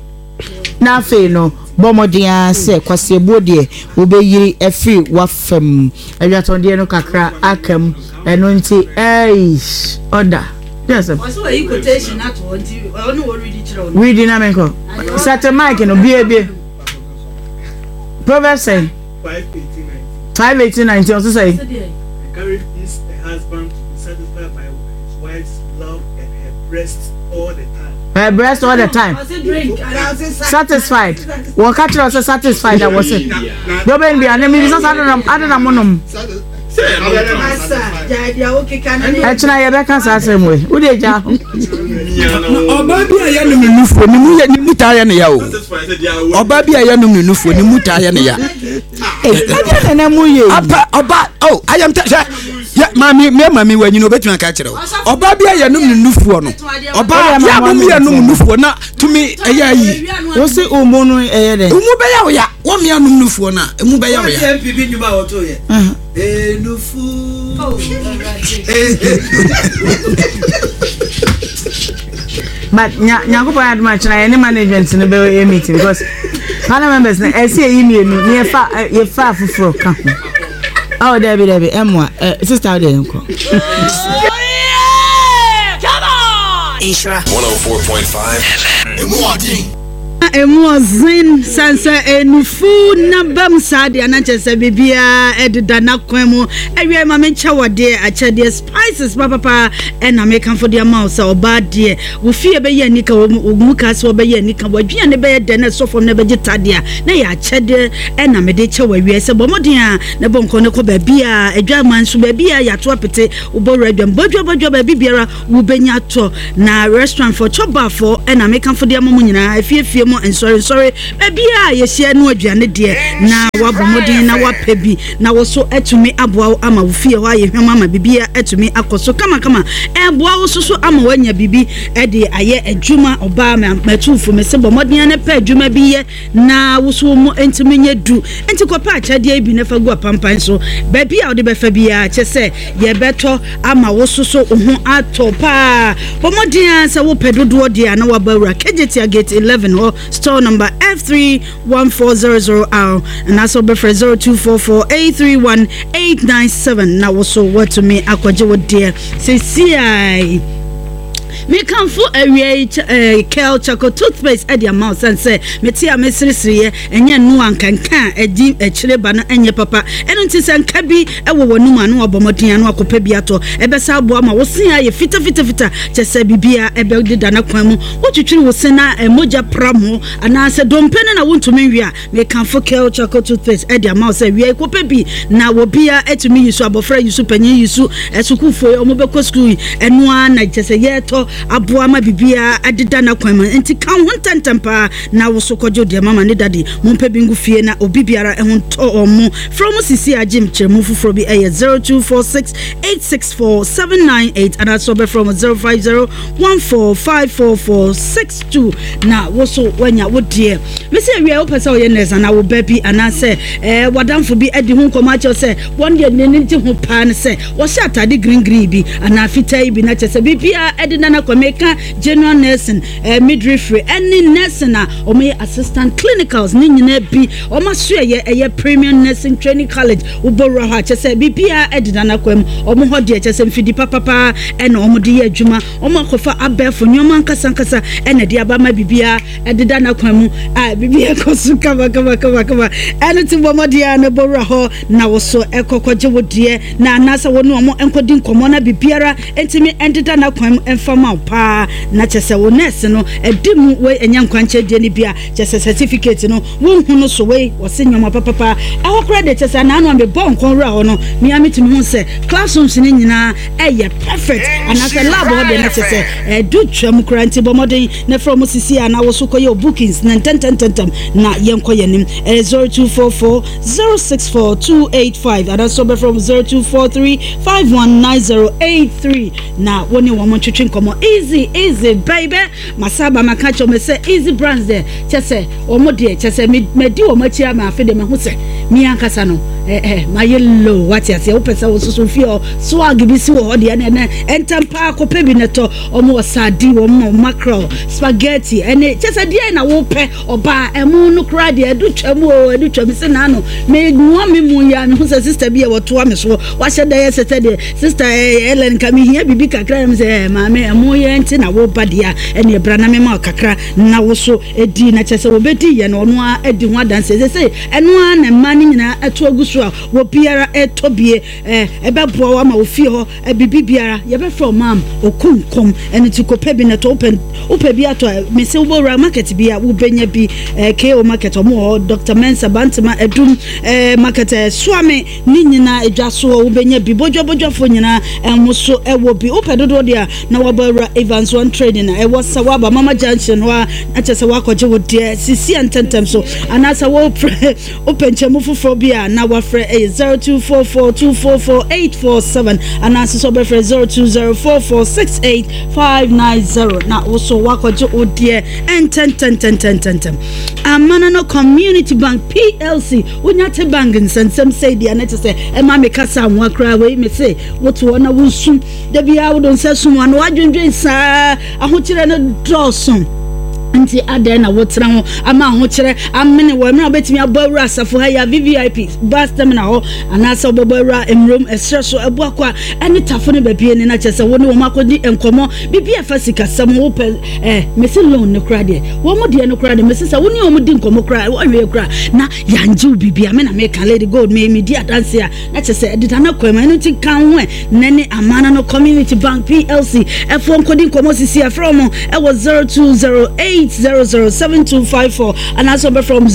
S3: Na afei no, bɔ mmɔden ara sɛ kwaseɛbuo deɛ wobɛyiri afiri w'afa mu. Adwatɔndeɛ no kakra aka mu, ɛno nti eish, ɔda. Deɛ asɛm.
S9: Ɔsɛ wayi quotation ato hɔ nti ɔne wɔ read kyerɛ wo.
S3: Read na menkɔ. Sɛte mic no, bie bie. Proverbs sɛn? 5 18 19 ɔsɛ sɛn?
S11: Encourages a husband to be satisfied by his wife's love and her breasts all the time.
S3: Her breast all the time. Satisfied. Wɔka kyerɛ sɛ satisfied a wɔse. Deɛ ɔbɛn bi a na mebisa sɛ ade na monom. Ɛkyena yɛbɛka saa asɛm wei. Wode gya.
S10: Ɔbaa bi a yɛnom ne nufoɔ ne mu yɛ ne mu taa yɛ ne ya o. Ɔbaa bi a yɛnom ne nufoɔ ne mu taa yɛ ne ya.
S3: Ɛdeɛ na na mu yɛ yi.
S10: Apa ɔba oh ayam tɛ hwɛ yɛ maame mɛ maame wɔ anyini obetumi aka kyerɛ o. Ɔbaa bi a yɛnom ne nufoɔ no ɔbaa yɛ a mo mmiɛnom nufoɔ na tumi ɛyɛ ayi.
S3: Wosi umu no ɛyɛ dɛ.
S10: Umu bɛyɛ o ya wɔn mmiɛnom nufoɔ na emu bɛyɛ o ya.
S8: Wɔn NPP nnwuma a wɔto yɛ. Enufu.
S3: But nya nyankopɔn yɛ adom akyena yɛne management no bɛyɛ meeting because panel members no ɛsɛ yɛyi mmienu na yɛfa yɛfa afoforɔ ka ho. Oh dabi dabi ɛmoa ɛ sister wo deɛ yɛnkɔ.
S12: Nhyira 104.5 FM. Emu ɔden.
S9: Emu ɔdzen san sɛ enufu n'abam saa deɛ na kyerɛ sɛ biribiara ɛdeda n'akwan mu. Awiei ma menkyɛ wɔ deɛ akyɛdeɛ spices papapa ɛna mekamfo de ama wo sɛ ɔbaa deɛ wo fie bɛyɛ anika wo mu ka sɛ wɔbɛyɛ anika w'aduane bɛyɛ dɛ na ɛsɔ fam na ɛbɛgye tadeɛ a na yɛ akyɛdeɛ ɛna mede kyɛ wɔ awiei sɛ bɔ mmɔden a na bɔ nkɔ ne kɔ baabi a adwaman nso baabi a yɛato apete wobɔ wura adwam bɔdwa bɔdwa baabi biara Wobenya atɔ na restaurant foɔ, chop bar foɔ ɛna mekamfo de ama mo nyinaa, afie afie mu, nsɔre nsɔre, baabiara a yɛhyia no aduane deɛ na wabɔ mmɔden na wapɛ bi na wo so atumi aboa wo ama wo fie hɔ ayɛ hwam ama biribiara atumi akɔ so kamakama, ɛboa wo so so ama woanya biribi de ayɛ adwuma. Ɔbaa matuufo mese bɔ mmɔden na pɛ adwuma bi yɛ na wo so wo mu ntumi nyɛ du nti kɔpɛ akyɛdeɛ yi bi na fa gu apampan so baabi a wode bɛfa biara kyɛ sɛ yɛbɛtɔ ama wo so so wo ho atɔ paa bɔ mmɔden ara sɛ wopɛ dodoɔ deɛ a na waba awura Kejetia gate 11 hɔ store number F31400R anaasɛ wobɛfrɛ 0244831897 na wo so woatumi akɔgye wo deɛ sesiai. Mekamfo awia yi eh, Kel Charcoal Toothpaste de ama wo sane sɛ mete a meseresereɛ ɛnyɛ ɛno a nka nka a ɛdi akyire ba no ɛnyɛ papa. Ɛno nti sɛ nka bi wɔ w'anum a na wabɔ mmɔden a na wakɔpɛ bi atɔ. Ɛbɛsa aboa ma wo se ayɛ fitafitafita kyɛ sɛ biribiara ɛbɛdeda n'akwan mu. Wotwitwiri wo se na mogya pram hɔ anaasɛ dompe no na wontumi nwe a, Mekamfo Kel Charcoal Toothpaste de ama wo sɛ wia yi kɔpɛ bi na obiara atumi yi so, abɔfra yi so, panyin yi so, asukuufoɔ yi wɔbɛkɔ sukuu yi, ɛno ara na kyɛ sɛ yɛretɔ aboa ma biribiara adeda n'akwan mu. Nti ka wo ho ntɛmntɛm paa na wo so kɔgye wo deɛ. Mama ne Daddy mompɛ bi ngu fie na obi biara ho ntɔ wɔn mo. Frɛ wɔn sisi a gye nkyerɛmu foforɔ bi ɛyɛ 0246 864 798 anaasɛ wɔbɛfrɛ wɔn 050 14 544 62 na wo so woanya wo deɛ. Mese awia wopɛ sɛ ɔyɛ nurse anaa wo ba bi anaasɛ eh, w'adamfo bi adi ho nkɔmmɔ akyerɛ sɛ wɔn deɛ n'ani gye ho paa ne sɛ wɔhyɛ atade green green bi anaa fitaa yi bi na kyerɛ sɛ biribiara ɛde nana kɔ meka general nursing eh, midwifery ɛne nursing a wɔyɛ assistant clinicals ne nyinaa bi wɔn asoɛyɛ ɛyɛ premium nursing training college wobɔwura hɔ a kyerɛ sɛ biribiara ɛde nana kɔ mu wɔn hɔ deɛ kyerɛ sɛ mfidi papapaa ɛna wɔn de yɛ adwuma wɔn akɔfa abɛɛfo nneɛma ankasa ankasa ɛna ɛde aba ma biribiara ɛdeda n'akwan mu a biribi ɛkɔ so kama kama kama kama ɛno ti bɔ mmɔden a na bɔwura hɔ na wo so ɛkɔ kɔgye wo deɛ na anaasɛ wo ne wɔn nkɔdi nkɔmmɔ na biribiara ntumi ɛndeda n'akwan mu ɛmfa ma wo paa na kyɛ sɛ wo nɛɛse no ɛdi mu wei ɛnyɛ nkwankyɛ deɛ no bi a kyɛ sɛ certificate no wonhu no so wei wɔse nneɛma papapa ɛhɔ koraa deɛ kyɛ sɛ anaano a mebɔ nkɔn wura hɔ no mea metumi hu sɛ classrooms no nyinaa ɛyɛ perfect anaasɛ lab hɔ deɛ na kyɛ sɛ ɛdu twam koraa nti bɔ mmɔden na frɛ wɔn sisi a na wo so kɔyɛ bookings na ntɛntɛntɛntɛm na yɛnkɔ yɛn anim. Ɛyɛ 0244 064 285 anaasɛ wobɛfrɛ wɔn 0243 519083 na wo ne wɔn ntwetwe nkɔmmɔ. Easy easy baby masa aba maka kyerɛ wɔn sɛ easy brands deɛ kyɛ sɛ wɔn deɛ kyɛ sɛ madi wɔn akyi ama afe deɛ mahu sɛ me ankasa no eh, eh, mayɛ low wate aseɛ wopɛ sɛ wososo fie hɔ swag bi si wɔ hɔ deɛ ɛnɛ ɛntɛm paa kɔpɛ bi na ɛtɔ Wɔn wɔ sardine, wɔn wɔ mackerel, spaghetti, ɛne kyɛ sɛ deɛ na wopɛ ɔbaa ɛmo no koraa deɛ ɛdo twam o ɛdo twam sɛ naano me noa me mu yɛ a mehu sɛ sister bi a wɔtoa me soɔ wahyɛ dɛ yɛ sɛ sɛ deɛ sister ɛɛ Ellen nka mehia biribi kakra na me sɛ ɛɛ maame ɛmo yɛ nti na woba deɛ a ɛne ɛbra na mema kakra na wo so ɛdi na kyɛ sɛ wɔbɛdi yɛ no ɔno ara adi ho adanseɛ sɛ sɛ ɛno ara na mmaa no nyinaa ɛto agu so a wɔbiara ɛtɔ bie ɛɛ ɛbɛboa wo ama wo fie hɔ Biribi biara yɛbɛfrɛ wo maam okunkum ɛno nti kɔpɛ bi na tɔ wopɛ wopɛ bi atɔ a mese wobɔwura market bi a wobɛnya bi eh, KO market ɔmo wɔ hɔ Dr Mensa Bantama Adum eh, market eh, Suame ne nyinaa adwa so hɔ wobɛnya bi bodwa bodwafoɔ nyinaa ɛmo so ɛwɔ bi wopɛ dodoɔ deɛ a na wabɔ awura Evans One Trading a ɛwɔ Sawaba Mama Junction hɔ a na kyerɛ sɛ wakɔgye wo deɛ sisi a ntɛntɛm so anaasɛ wopɛ Wopɛ nkyɛmu foforɔ bi a na wafrɛ ɛyɛ 0244244847 anaasɛ sɛ wobɛfrɛ 0204468590 na wo so woakɔgye wo deɛ ntɛntɛntɛntɛntɛm. Amana no Community Bank PLC wonya te bank nsɛnsɛm sɛi deɛ na kyɛ sɛ ɛma me kasa nwa koraa wei me se wote hɔ na wosu da biara wode nsa sum ano adwendwen saa ahokyerɛ no dɔɔso. Nti adɛn na wotena ho ama ahokyerɛ amene wɔ mmerɛ a wobɛtumi abɔ awura asafo ha yi a VVIP bus terminal hɔ anaasɛ wobɛbɔ awura mmurom ɛserɛ so Abuakwa ɛne Tafo ne baabi ne na kyerɛ sɛ wo ne wɔn akɔdi nkɔmmɔ biribi a ɛfa sikasɛm ho wopɛ eh mese loan no koraa deɛ wɔn deɛ no koraa deɛ mese sɛ wo ne wɔn di nkɔmmɔ koraa wɔnwie koraa na yɛangye wo biribi a me na meka Lady Gold me medi adanse a na kyerɛ sɛ ɛdeda no kwan mu ɛno nti ka ho ɛ Nnɛ ne Amana no Community Bank PLC foɔ nkɔdi nkɔmmɔ sisi a frɛ wɔn wɔ 0208007254 anaasɛ wɔbɛfrɛ wɔn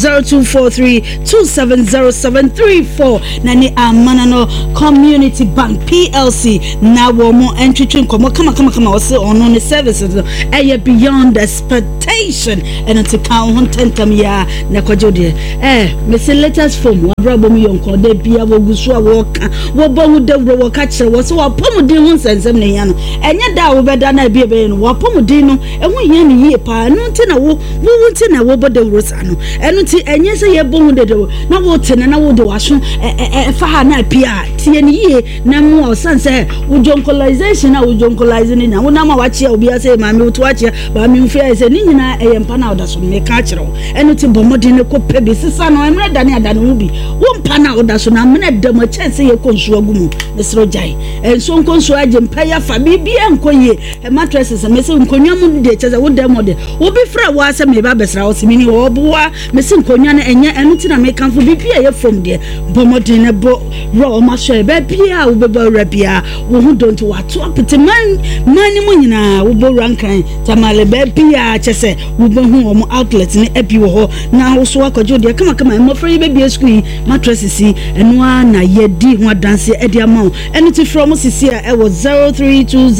S9: 0243270734 na ne Amana no Community Bank PLC na wɔn ntwetwe nkɔmmɔ kamakamakama ɔse ɔno ne services no ɛyɛ beyond expectation ɛno nti ka wo ho ntɛntɛm yi ara na kɔgye wo deɛ eh mese latest phone wabrabɔ mu yɔnkɔ da bia wɔgu so a wɔka Wɔbɔ ho dawuro, wɔka kyerɛ wɔ sɛ w'apɔmuden ho nsɛnsɛm na ehia no. Ɛnyɛ da a wobɛda no a ebi ɛbɛyɛ no, w'apɔmuden no, ɛho hia no yie paa. Ɛno nti na wo, wo wo nti na wɔbɔ dawuro saa no. Ɛno nti ɛnyɛ sɛ yɛbɔ ho dawuro na wote no na wode w'aso ɛ ɛ ɛfa ha na apue a, tie no yie na mmoa wo. Sane sɛ wo jonkolization a wo jonkolise no nyinaa, wonam a wakyea obiara sɛ maame woto akyea, maame mfiri ayɛ sɛ ne nyinaa ɛyɛ mpa no a woda so no, meka akyerɛ wo. Ɛno nti bɔ mmɔden na kɔpɛ bi, sesa no, mmerɛ dane adane ho bi. Wo mpa no a woda so no, amena da mu, ɛkyɛn sɛ yɛkɔ nsuo agu mu. Mesrɛ wo gyae. Nsuo nkɔ nsuo agye mpa yi afa, biribiara nkɔ yie. Mattresses, mese nkonnwa mu deɛ kyerɛ sɛ wo dan mu deɛ, obi frɛ wo ara sɛ mereba abɛsra wo, ɔse menni hɔ, ɔboa. Mese nkonnwa no ɛnyɛ, ɛno nti na mekamfo biribi a ɛyɛ fam deɛ, bɔ mmɔden na bɔ wura wɔn asɔre. Baabiara a wobɛbɔ awura biara, wo ho dɔ nti wɔato apete man man no mu nyinaa, wobɔ wura Nkran, Tamale, baabiara kyerɛ sɛ Wobɛhu wɔn outlet no abi wɔ hɔ na wo so akɔgye wo deɛ kamakama. Mmɔfra yi bɛbie sukuu yi, mattresses yi, ɛno ara na yɛdi ho adanseɛ de ama wo. Ɛno ti frɛ wɔn sisi a ɛwɔ 032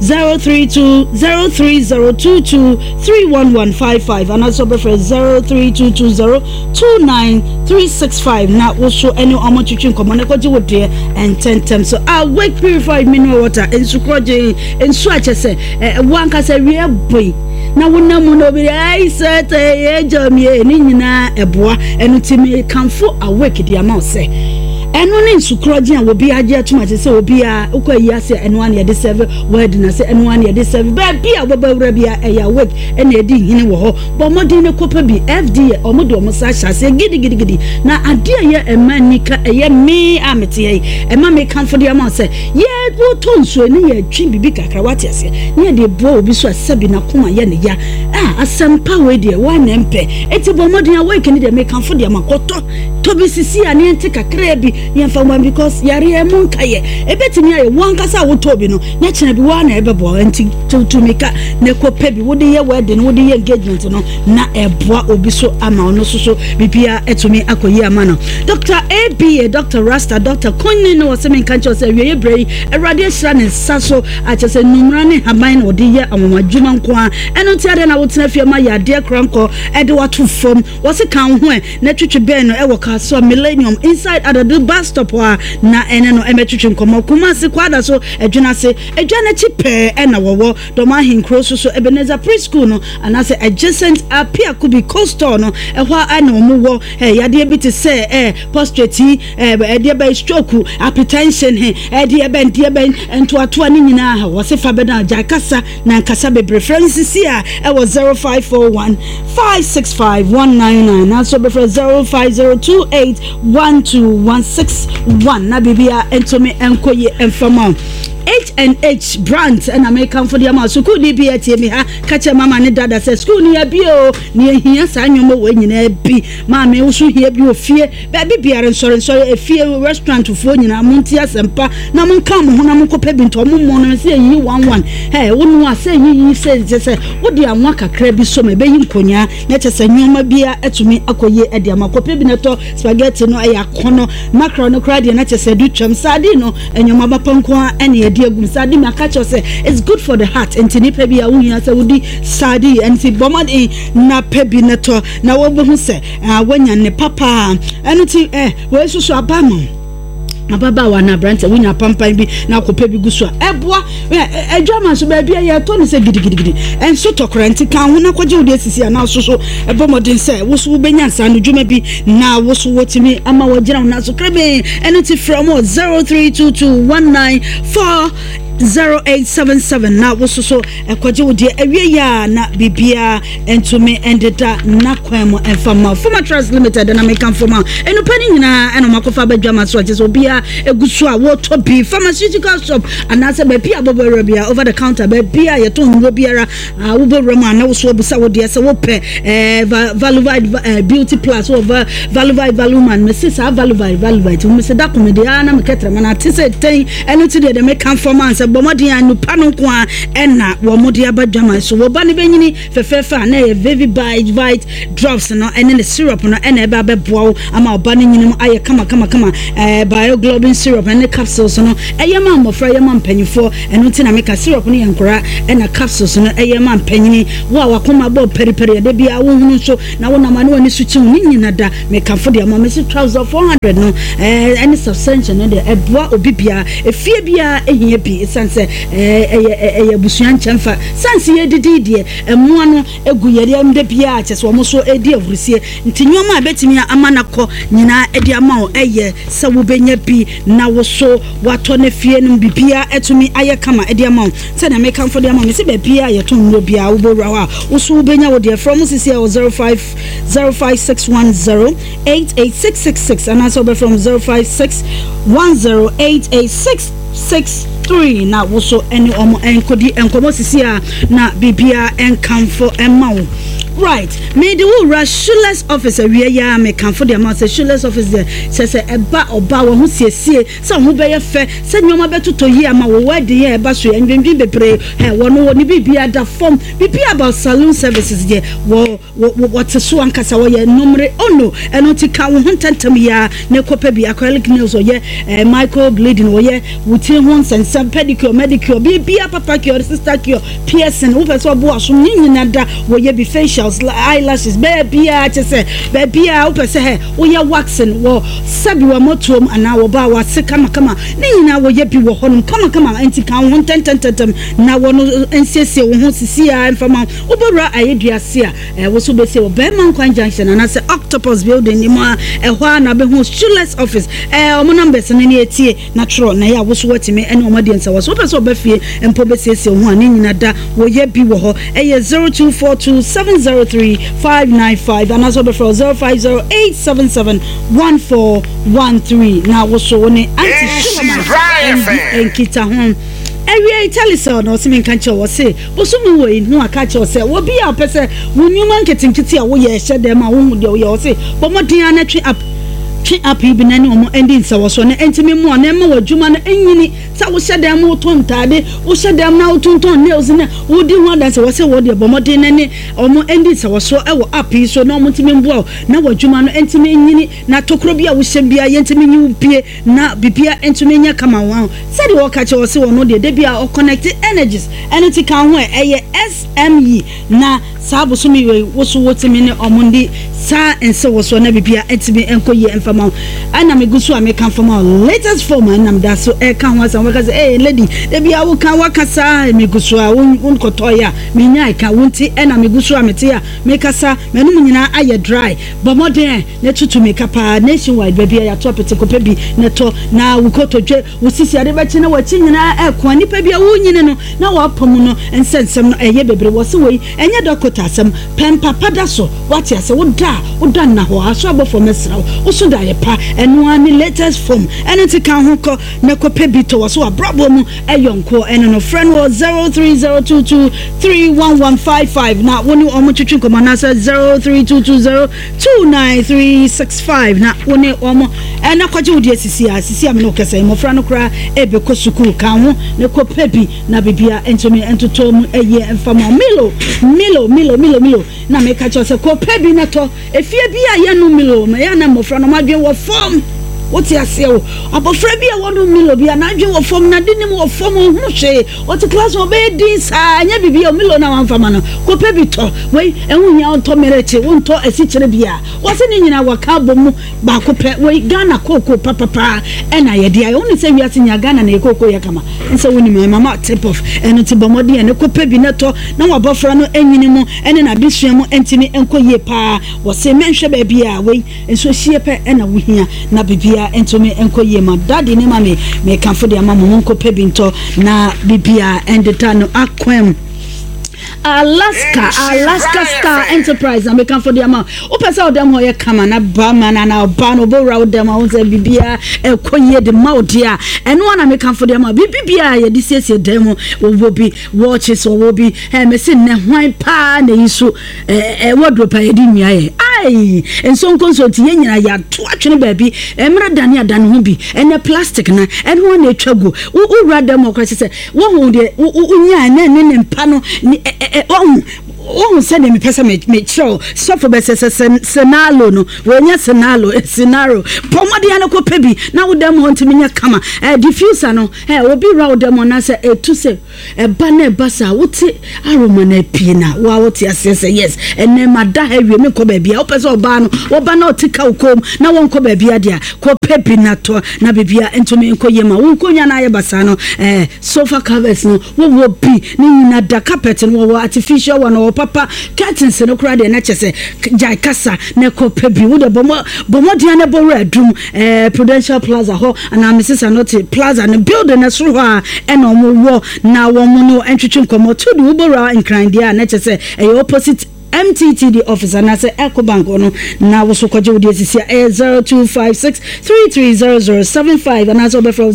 S9: 032 03022 31155 anaasɛ wobɛfrɛ 03220 29365 na wo so ɛne wɔn twetwe nkɔmmɔ na kɔgye wo deɛ ntɛntɛm so. Awake Purified Mineral Water, nsu korɔgyen, nsu a kyɛ sɛ wo ankasa wie boi na wonam mu na obi de ayi sɛ tɛ yɛ gya mi yɛ ne nyinaa ɛboa. Ɛno ti mi kanfo Awake de ama wo sɛ ɛno ne nsukorɔgye a obi agye atum ase sɛ obi a wokɔ ayi ase ɛno a na yɛde sɛve wedding ase, ɛno a na yɛde sɛve baabi a wobɛba wura bi a ɛyɛ Awake ɛna ɛdi hene wɔ hɔ. Bɔ mmɔden ne kɔpɛ bi. FDA ɔmo de ɔmo sa ahyɛ aseɛ gidigidigidi na adeɛ a ɛyɛ ɛma nika ɛyɛ me a mete ha yi ɛma me kanfo de ama wo sɛ Yɛ wotɔ nsuo ne yɛ twe biribi kakra wate aseɛ ne yɛ de boa obi so a sɛbi n'akoma yɛ ne ya ah asɛmpa wei deɛ woa na ɛmpɛ eti bɔ mmɔden awake ne deɛ mekamfo deɛ ma kɔtɔ tɔ bi sisi a ne yɛnte kakraa bi ne yɛmfa mmoa because yareɛ mu nka yɛ ebetumi ayɛ wo ankasa a wotɔ bi no na kyena bi woa na ɛbɛboa nti tutu mika na ɛkɔ pɛ bi wode yɛ wedding wode yɛ engagement no na ɛboa obi so ama ɔno nso so biribiara atumi akɔ yie ama no. Dr. ABA, Dr. Rasta, Dr. Kunni no ɔsɛ menka nkyerɛ sɛ awieeɛ berɛ yi Awurade ahyira ne nsa so akyɛ sɛ nnumera ne nhaban na ɔde yɛ anwanwadwuma nko ara. Ɛno nti adɛn na wotena fie ma yadeɛ korankɔ ɛde wato fam? Wɔse ka wo ho ɛ na twetwe bɛn no ɛwɔ Kasoa Millennium inside Adadu bus stop hɔ a na ɛne no ɛmɛtwetwe nkɔmmɔ. Kumasi Kwada so Adwinase adwa no akyi pɛɛ ɛna wɔwɔ. Dɔm ahenkuro so so Ebenezer Pre-School no anaasɛ adjacent Apiakubi Cold Store no, ɛhɔ ara na wɔn wɔ. Eh, yadeɛ bi te sɛ eh, prostrate yi, eh, ɛdeɛ bɛn stroke, hypertension, he, ɛdeɛ bɛn, deɛ bɛn, ntoatoa ne nyinaa, wɔse fa bɛda gyae kasa na nkasa bebree. Frɛ no sisi a ɛwɔ 0541 565 199 nanso bɛfrɛ 05028 12161 na biribia ntumi nkɔ yie mfa ma wo. H&H brand ɛna mekamfo de ama sukuuni bi atie mi ha ka kyerɛ mama ne dada sɛ sukuu no yɛabie o na yɛhia saa nneɛma wɔ nyinaa bi. Maame wo so hia bi wɔ fie baabi biara, nsɔre nsɔre efie restaurant foɔ nyinaa montie asɛmpa na monka mo ho na monkɔpɛ bi ntɔ mo mmɔ no sɛ yɛyiyi one one ɛ wo noa sɛ yiyi sɛ kyɛ sɛ wode anwa kakra bi so ma ɛbɛyi nkonyaa na kyɛ sɛ nneɛma biara atumi akɔ yie ɛde ama. Kɔpɛ bi na tɔ spaghetti no ɛyɛ akɔnɔ, mackerel no koraa deɛ na kyɛ sɛ ɛdu twam, sardine no Nneɛma papa nko ara na yɛde agu mu. Sardine maka kyerɛ sɛ it's good for the heart. Nti nipa bi a wohia sɛ wodi sardine nti bɔ mmɔden na pɛ bi na tɔ na wobɛhu sɛ ah, woanya ne papa. Ɛno nti eh, wei nso so aba ma ababaawa na aberante wonya apampan bi na akɔpɛ bi gu so a ɛboa adwama nso baabi a yɛtɔ no sɛ gidigidigidi ɛnso tɔkora nti ka ho na kɔgye wo deɛ sisi anaa so so ɛbɔ mmɔden sɛ wo so wobɛnya nsa no dwuma bi na wo so wɔtumi ama wɔgyina wo nan so krebee. Ɛno nti frɛ wɔn wɔ 0322 194 0877 na wososo ɛkɔgye wo deɛ awie yɛ a na biribiara ntumi ndeda n'akwan mu mfa mma wo. Foma Trust Limited na meka mfoma nnupa no nyinaa ɛna wɔn akɔfa abɛdwa ma so a kyerɛ sɛ obiara egu so a wɔtɔ bi pharmaceutical shop anaasɛ baabi a bɔbɔ awura biara over the counter baabi a yɛtɔn nnuro biara a wobɔ wura mu a na woso abusa wo deɛ sɛ wopɛ ɛɛ Valuvite ɛɛ Beauty Plus wɔ Valuvite Valuman mese saa Valuvite Valuvite mese da kɔn deɛ ara na mekɛtɛrɛ ma na ate sɛ tɛn ɛno ti deɛ deɛ meka mfama sɛ bɔ mmɔden a nnupa no nko a ɛna wɔn de aba dwaman so wɔba no bɛnyini fɛfɛɛfɛ a na ɛyɛ Vivi Bite Vite drops no ɛne ne syrup no ɛna ɛbɛ abɛboa wo ama ɔba no nyini mu ayɛ kama kama kama ɛɛ bioglobin syrup ɛne capsules no ɛyɛ ma mmɔfra ɛyɛ ma mpanyinfoɔ ɛno nti na meka syrup no yɛ nkora ɛna capsules no ɛyɛ ma mpanyini wo a wakoma bɔ pɛripɛri ɛda biara wohunu nso na wonam ano ani so kyiw ne nyina da mekamfo deɛ ma mesi trouser 400 no ɛɛ ɛne suspension no deɛ ɛboa obi biara efie biara ehia bi esan sɛ ɛɛ ɛyɛ ɛyɛ abusua nkyɛnfa sansi yɛ didi deɛ mmoa no gu yɛn yam da biara a kyerɛ sɛ wɔn nso redi ahurusie. Nti nneɛma a ɛbɛtumi ama no akɔ nyinaa de ama wo yɛ sɛ wobɛnya bi na wo so woatɔ no fie nom biribiara atumi ayɛ kama de ama wo. Sɛdeɛ mekamfo de ama wo, mese baabiara a yɛtɔn nnuro biara wobɛwura hɔ a wo so wobɛnya wo deɛ. Frɛ wɔn sisi wɔ 05 05610 88666 anaasɛ wobɛfrɛ wɔn 05610 886 63 na wo so ne wɔn nkɔdi nkɔmmɔ sisi a na biribiara nkamfo mma wo. Right, mede wo wura Shoeless office awie yi ara mekamfo de ama wo sɛ Shoeless office deɛ kyerɛ sɛ ɛba ɔba wɔ ho siesie sɛ wo ho bɛyɛ fɛ sɛ nneɛma bɛtotɔ yie ama wo wedding yɛ ɛba so yɛ ndwendwen bebree ɛ wɔn wɔ ne biribiara da fam biribiara about saloon services deɛ wɔ Wɔ wɔ wɔte so ankasa wɔyɛ nomere oh no ɛno nti ka wo ho ntɛntɛm yi ara na kɔ pɛ bi acrylic nails ɔyɛ eh, micro bleeding ɔyɛ wo tiri ho nsɛnsɛm pedicure medicure biribiara papa cure sister cure piercing wopɛ sɛ ɔbo asom ne nyina da wɔyɛ bi facials eyelashes baabiara kyɛ sɛ baabiara wopɛ sɛ hɛ woyɛ waxing wɔ sɛbi wɔ mɔtoam anaa wɔ baa wase kamakama ne nyinaa wɔyɛ bi wɔ hɔnom kamakama nti ka wo ho ntɛntɛntɛntɛm na wɔn nsiesie wo ho sisi ara mfama Wobɛwura Ayɛdua ase a, ɛwɔ sɛ wobɛsi wɔ Bɛɛma Nkwan Junction anaasɛ Octopus Building no mu a, ɛhɔ ara na wobɛhu Shoeless Office. Ɛɛ, wɔn numbers no ne ɛtie na twerɛ na ɛyɛ a wo so woatumi ne wɔn adi nsawa. So wopɛ sɛ ɔba fie mpo bɛsiesie wo ho a, ne nyina da wɔyɛ bi wɔ hɔ. Ɛyɛ 0242 703 595 anaasɛ wobɛfrɛ wɔ 0508 77 1413 na wo so wo ne Auntie Shulamite ndi nkitaho. Awiei, Telecel na ɔse menka nkyerɛ wo, ɔse Bosome wei no aka akyerɛ wo sɛ obi a ɔpɛ sɛ wo nnwuma nketenkete a woyɛ hyɛ dɛm a wohu deɛ woyɛ ɔse bɔ mmɔden ara na twe app twe app yi bi na ne wɔn ndi nsawɔsoɔ na ɛntumi mmoa na ɛmma w'adwuma no nyini sɛ wohyɛ dɛm wotɔn ntaade wohyɛ dɛm na wotontɔn nails na wodi ho adanse wɔ sɛ wɔ deɛ bɔ mmɔden na ne wɔn ndi nsawɔsoɔ wɔ app yi so na wɔn ntumi mboa wo na w'adwuma no ntumi nyini na tokuro bi a wohyɛ biara yɛntumi nyi wo pie na biribiara ntumi nyɛ kama wɔn sɛdeɛ wɔka kyerɛ wɔ se wɔn deɛ da biara ɔconnect energies Ɛno nti ka ho ɛ, ɛyɛ SME na saa bosome wei wo so wotumi ne ɔmo ndi saa nsewosoɔ na biribiara ntumi nkɔ yie mfa ma wo. Ɛna megu so a meka mfa ma wo latest form a ɛna meda so ɛka ho asɛm wobɛka sɛ ee lady da biara woka waka saa megu so a wonkɔtɔeɛ a menyae ka wo nti ɛna megu so a mete a mekasa m'anom nyinaa ayɛ dry bɔ mmɔden ɛ na tutu mmirika paa nationwide baabi a yɛato apete kɔpɛ bi na tɔ na wo kotodwe Wo sisi ade bɛkye na w'akyi nyinaa ɛko a nipa bi a worenyini no na w'apɔ mu no nsɛnsɛm no ɛyɛ bebree wɔse wei ɛnyɛ dɔkota asɛm pɛ mpa pa da so wate ase wo da a wo da nna hɔ aso abɔfoɔ mɛsrɛ wo wo so da yɛ pa ɛno ara ne latest form ɛno nti ka ho kɔ na kɔ pɛ bi tɔ wɔ so w'abrabɔ mu ɛyɔnkoɔ ɛno no frɛ no wɔ 0302231155 na wo ne wɔn twetwe nkɔmmɔ anaasɛ 03220 29365 na wo ne wɔn na kɔgye wo deɛ sisi a sisi a me ne wo kasa yi mmɔfra no koraa ɛbɛkɔ sukuu ka ho na kɔ pɛ bi na bibia ntumi ntotɔ mu ɛyɛ mfa ma Milo Milo Milo Milo Milo na meka kyerɛ sɛ kɔ pɛ bi na tɔ efie bi a yɛnom Milo ma yɛ na mmɔfra no adwene wɔ fam wote aseɛ wo abɔfra bi a wɔnom Milo bi a n'adwene wɔ fam na de nim wɔ fam ɔhunu hwee Ɔte class mu ɔbɛyɛ din saa ɛnyɛ biribi a Milo na wamfa ma no kɔpɛ bi tɔ wei ɛho hia wontɔ merekye wontɔ asikyire bia wɔse ne nyinaa wɔka abɔ mu baako pɛ wei Ghana kooko papapaa ɛna yɛde ayɛ wone sɛ wiase nyinaa Ghana na yɛ kooko yɛ kama nsɛ wonim ɛ mama tip off ɛno nti bɔ mmɔden ɛne kɔpɛ bi na tɔ na wabɔfra no ɛnyini mu ɛne n'adesua mu ɛntumi ɛnkɔ yie paa wɔse mɛnhwɛ baabi a wei nso hyie pɛ ɛna wohia na biribi. biribiara ntumi nkɔ yie ma daddy ne mummy. Mekamfo de ama mo, monkɔpɛ bi ntɔ na biribiara ndeda no akwan mu. Alaska, Alaska Star Enterprise na mekamfo de ama wo. Wopɛ sɛ wo dɛm hɔ yɛ kama na barima no anaa ɔbaa no ɔbɛwura wo dɛm a wohu sɛ biribiara ɛkɔ yie de ma wo deɛ a, ɛno ara na mekamfo de ama wo. Biribi biara a yɛde siesie dan mu, wɔwɔ bi, watches wɔwɔ bi. Ɛ mese nnɛ hwan paa na eyi so ɛ wardrobe a yɛde nnua yɛ? Ai! Nsonkonso nti yɛn nyinaa yɛato atwene baabi. Mmerɛ dane adane ho bi. Ɛnnɛ plastic no, ɛno ara na ɛtwa gu. Wo wura dan mu hɔ koraa kyerɛ sɛ Woahu deɛ wonyaa na ɛne ne mpa no ne ɛ ɛ woahu woahu sɛdeɛ mepɛ sɛ mekyerɛ wo sɔfo bɛsɛ sɛ sɛ senalo no wɔnyɛ senalo senaro bɔ mmɔden ano kɔpɛ bi na wo dɛm hɔ ntumi nyɛ kama ɛ diffuser no ɛ obi wura wo dɛm hɔ na sɛ ɛtu sɛ ɛba na ɛba saa wote aroma na apue na wo a wote aseɛ sɛ yes ɛnɛ ma da ha awie menkɔ baabi a wopɛ sɛ ɔbaa no wɔba na ɔte ka wo kɔn mu na wɔnkɔ baabi adeɛ a kɔpɛ bi na tɔ Na biribiara ntumi nkɔ yie ma wo nkonnwa no ayɛ basaa no, eh, sofa covers no, wowɔ bi, ne nyina da, carpet no, wɔwɔ artificial one, wɔwɔ papa, curtains no koraa deɛ na kyɛ sɛ gyae kasa na kɔ pɛ bi, wo deɛ bɔ bɔ mmɔden ara na bɔ wura adum, eh, Prudential Plaza hɔ, anaa Mrs. Anote Plaza no building no soro hɔ a ɛna wɔn wɔ, na wɔn ne wo ntwetwe nkɔmmɔ, to de wobɔ wura Nkran deɛ a na kyɛ sɛ ɛyɛ opposite MTTD office anaasɛ Ecobank hɔ no na wo so kɔgye wo deɛ sisi a ɛyɛ 0256 330075 anaasɛ wobɛfrɛ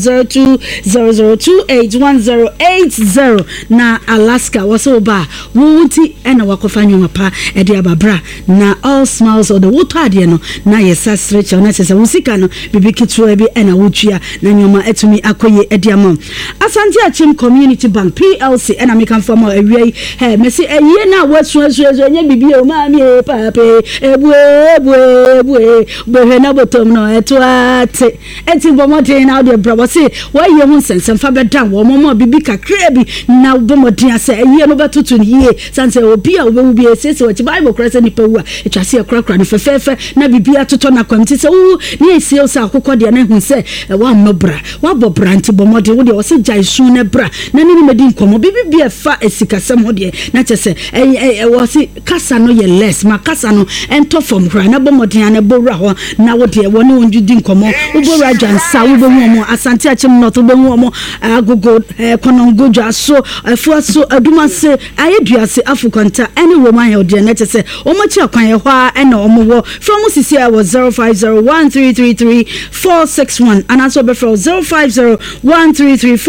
S9: 0200281080 na Alaska wɔ sɛ woba a wo wo nti ɛna wakɔfa nneɛma pa ɛde aba bra na all smiles ɔde wotɔ adeɛ no na yɛsa serekyɛw na kyerɛ sɛ wo sika no biribi ketewa bi ɛna wotua na nneɛma atumi akɔ yie ɛde ama wo. Asante Akyem Community Bank PLC ɛna mekamfo ama wo awia yi. Hɛ, mese ayie no a woasu asu asu ɛnyɛ biribi o, maame e, papa e, ebue ebue ebue, bɛhwɛ na bɔtɔm no ɛto ate. Enti bɔ mmɔden na wode bra wɔse woayie ho nsɛnsɛm fa bɛdan wɔn ma biribi kakraa bi na bɔ mmɔden a sɛ ayie no bɛtoto no yie sane sɛ obi a wobɛwu bi ɛsiesie wɔkyi Bible koraa sɛ nipa wu a ɛtwa sɛ yɛkorakora no fɛfɛɛfɛ na biribi atotɔ no akwam nti sɛ wowu ne ɛsie wo sɛ akokɔ deɛ na ɛhu sɛ woammɔ bra Woabɔ bra nti bɔ mmɔden, wo deɛ wɔse gyae su na bra na ne ne mɛdi nkɔmmɔ, biribi bi a ɛfa sikasɛm ho deɛ na kyerɛ sɛ ɛyɛ wɔse kasa no yɛ less, ma kasa no ɛntɔ fam koraa na bɔ mmɔden ara na bɔ wura hɔ na wo deɛ wɔne wɔn di nkɔmmɔ, wobɔ wura Dwansa wobɛhu wɔn, Asante Akyem North wobɛhu wɔn, Agogo, Kɔnɔngo, Dwaso, Afuaso, Adumase, Ayeduase, Afokwanta ɛne Roma Hill deɛ na kyerɛ sɛ wɔn akyi akwan ɛhɔ ara na wɔn wɔ, frɛ wɔn sisi a wɔ 050133 461 anaasɛ wɔbɛfrɛ wo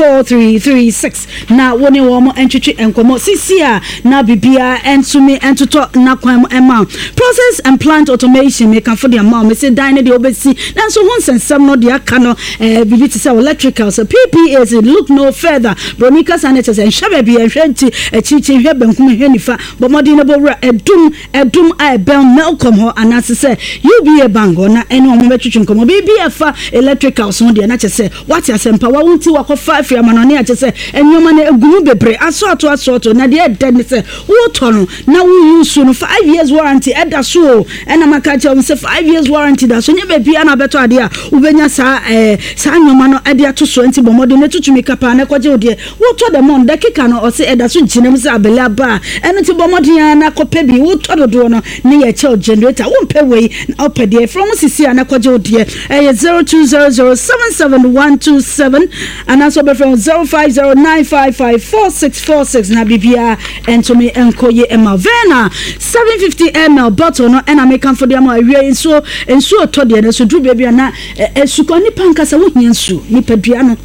S9: 0501334336 na wo ne wɔn ntwetwe nkɔmmɔ sisi a na biribiara ntumi ntotɔ n'akwan mu mma wo. Process and plant automation mekafo de ama wo mese dan no deɛ wobɛsi nanso ho nsɛnsɛm no deɛ aka no eh, biribi te sɛ electrical sɛ PPAs look no further broni kasa no kyɛ sɛ nhwɛ baabi nhwɛ nti akyirikyiri nhwɛ bankum nhwɛ nifa bɔ mmɔden na bɔ wura adum Adum a ɛbɛn Melcom hɔ anaase sɛ UBA Bank hɔ na ɛne wɔn bɛtwetwe nkɔmmɔ. Biribi a ɛfa electricals ho deɛ na kyerɛ sɛ woate asɛmpa, wawo nti wakɔfa afiri amanɔne a kyerɛ sɛ nneɛma no ɛgu mu bebree, asɔɔto asɔɔto, na deɛ ɛdɛ ne sɛ wotɔ no na wo use no five years warranty ɛda so o, ɛna maka akyerɛ wɔn sɛ five years warranty da so, nyɛ baabiara na wobɛtɔ adeɛ a wobɛnya saa ɛɛ saa nneɛma no ɛde ato so, nti bɔ mmɔden na tutu mmirika paa na kɔgye wo deɛ. Wotɔ dɛm ɔn, dakika no ɔse ɛda so gyina mu sɛ abele aba a, ɛno nti bɔ mmɔden ara na kɔpɛ bi, wotɔ dodoɔ no ne yɛ kyɛw generator, wompɛ wei na wopɛ deɛ, frɛ wɔn sisi a na kɔgye wo deɛ, ɛyɛ 0200 77127 anaasɛ wobɛfrɛ wɔn 0509554646 na biribiara ɛntumi nkɔ yie mma wo. Verna 750 ml bottle no ɛna mekamfo de ama wo awia yi, nsuo, nsuo tɔ deɛ nanso duru baabi a na ɛsukɔ, nipa ankasa wohia nsuo, nipadua no.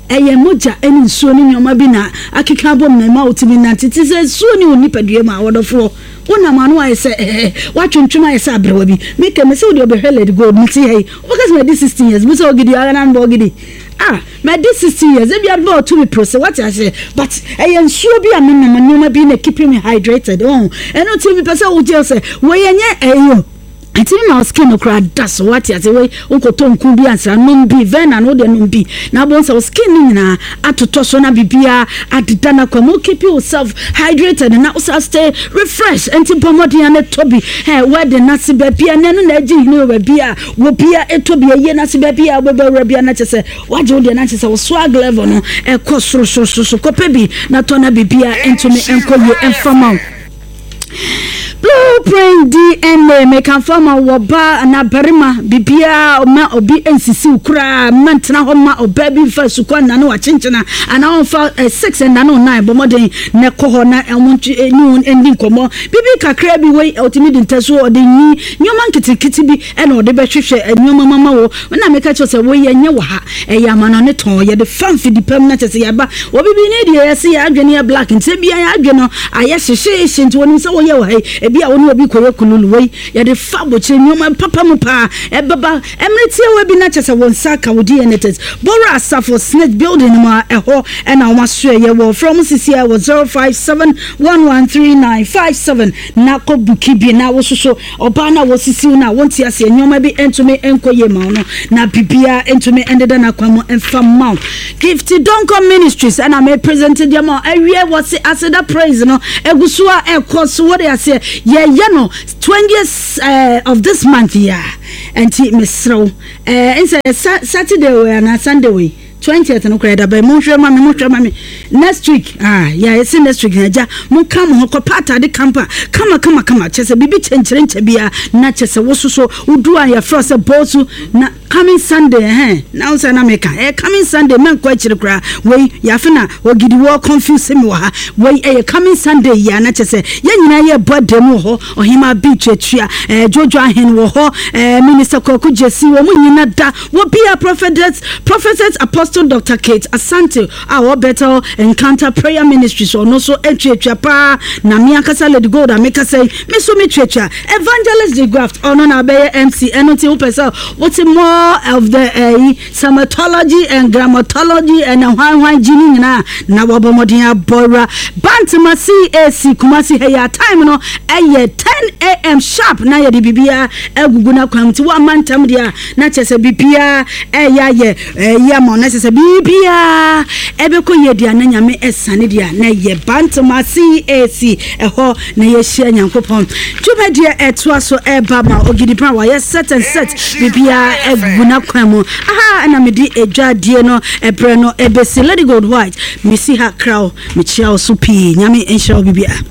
S9: Ɛyɛ mogya ne nsuo ne nneɛma bi na akeka abom na ɛma wotumi nante. Te sɛ nsuo ne wo nipadua mu a, ɔdɔfoɔ, wonam ano ayɛ sɛ ɛɛ, woatwentwem ayɛ sɛ aberewa bi. Meka mese wo deɛ wobɛhwɛ Lady Gold, mete ha yi, wobɛka sɛ madi 16 years, bu sɛ ogidi, ara na mebɔ ogidi. Ah, madi 16 years, ebia bɛ ɔto me prose, wate aseɛ, but ɛyɛ nsuo bi a menom, nneɛma bi na keeping me hydrated, oh. Ɛno nti mepɛ sɛ wogye sɛ wei ɛnyɛ ɛyi o. Ɛtumi ma wo skin no koraa da so wate ase wei wokɔtɔ nku bi ansra nom bi Verna no wodeɛ nom bi na abɔ sɛ wo skin no nyinaa atotɔ so na biribiara adeda no akwa mu keep yourself hydrated na wosa stay refresh nti bɔ mmɔden a na tɔ bi ɛ wedding no ase baabi a na ɛno na agye hene wɔ baabi a wɔ bia ɛtɔ bi ayie no ase baabi a wobɛbɔ awura bia na kyɛ sɛ wagye wo deɛ na kyɛ sɛ wo swag level no ɛkɔ soro soro soro so kɔpɛ bi na tɔ na biribiara ntumi nkɔ yie ɛmfa ma wo. Blueprint DNA, Mekamfo ama wo ɔbaa anaa barima, biribiara mma obi nsisi wo koraa, mma ntena hɔ mma ɔbaa bi mfa sukuu annane wo akyenkyena anaa ɔmfa sex nnane wo nan, bɔ mmɔden na kɔ hɔ na wɔn ne wo nni nkɔmmɔ. Biribi kakraa bi wei, ɔtumi de ntasuo, ɔde nwi, nneɛma nketenkete bi na ɔde bɛhwehwɛ nneɛma mu ama wo. Na meka kyerɛ wo sɛ wei ɛnyɛ wɔ ha, ɛyɛ amanɔne tɔn, yɛde fa mfidi pa mu na kyerɛ sɛ yɛaba. Obibini deɛ yɛse yɛn adwene yɛ black nti ebia yɛn adwene no ayɛ hyehyeehye nti wɔnim sɛ woyɛ wɔ ha yi, ebia wo ne obi kɔyɛ kululu, wei yɛde fa abokyire nneɛma papa mu paa ɛbɛba mmerɛ tiawa bi na kyerɛ sɛ wo nsa aka wo DNA test. Bɔwura Asafo Snit building no mu a ɛhɔ na wɔn asoɛeɛ wɔ, frɛ wɔn sisi ara wɔ 05711395 na kɔ buki bi na wososo Ɔbaa no a wɔsisiw no a wonte aseɛ, nneɛma bi ntumi nkɔ yie ma wo no, na biribiara ntumi ndeda n'akwan mu mfa mma wo. Gift Donkor Ministries ɛna me present deɛ ma awie wɔ se aseda praise no egu so a ɛkɔ so wɔde aseɛ yɛyɛ no 20th eh, of this month yi a nti mesrɛ wo eh, nsɛ Saturday wei anaa Sunday wei Twentieth no koraa ɛda bɛn? Monhwɛ ma me, monhwɛ ma me. Next week, ah, yeah, ɛsɛ next week na agya, monka mo ho kɔpa atade kampa, kama kama kama, kyɛ sɛ biribi kyɛnkyerɛnkyɛ biara, na kyɛ sɛ wososo, wodu a yɛfrɛ sɛ bɔɔsu, na coming Sunday, ɛhɛn, na wo sɛ na meka, ɛyɛ coming Sunday, mɛnkɔ akyiri koraa, wei, yɛafe na ogidi wɔ confuse me wɔ ha, wei ɛyɛ coming Sunday yi a, na kyɛ sɛ yɛn nyinaa yɛbɔ adan mu wɔ hɔ, Ɔhemaa Bi tuatua, ɛɛ, Jojo Ahen wɔ hɔ, ɛɛ, Minister Kwaku Gyesi, wɔn nyina da Wɔ bia Prophetess Prophetess Apostle Doctor Kate Asante a ɔwɔ Bethel Encounter Prayer Ministries ɔno nso tuatua paa na me ankasa Lady Gold a mekasa yi me nso me tuatua. Evangelist De Graft ɔno na abɛyɛ MC ɛno nti wopɛ sɛ wote more of the ɛyi Samatology and Grammatology and hwan hwan gyi ne nyinaa na wabɔ mmɔden abɔ wura Bantama CAC Kumasi ha yi a time no ɛyɛ 10am sharp na yɛde biribiara agugu n'akwan mu nti woamma ntɛm deɛ a na kyerɛ sɛ biribiara ɛyɛ ayɛ ɛyɛ ama wo na kyerɛ sɛ biribiara ɛbɛkɔ yie deɛ na nyame ɛsane deɛ na ɛyɛ Bantama CAC ɛhɔ na yɛhyia Nyankopɔn dwumadie ɛtoa so ɛba ma Ogidi Brown wayɛ set and set biribiara agu n'akwan mu aha ɛna mede adwadie no ɛbrɛ no ɛbɛsi Lady Gold White mesi ha kraw mekyia wo so pii Nyame nhyira wo biribiara.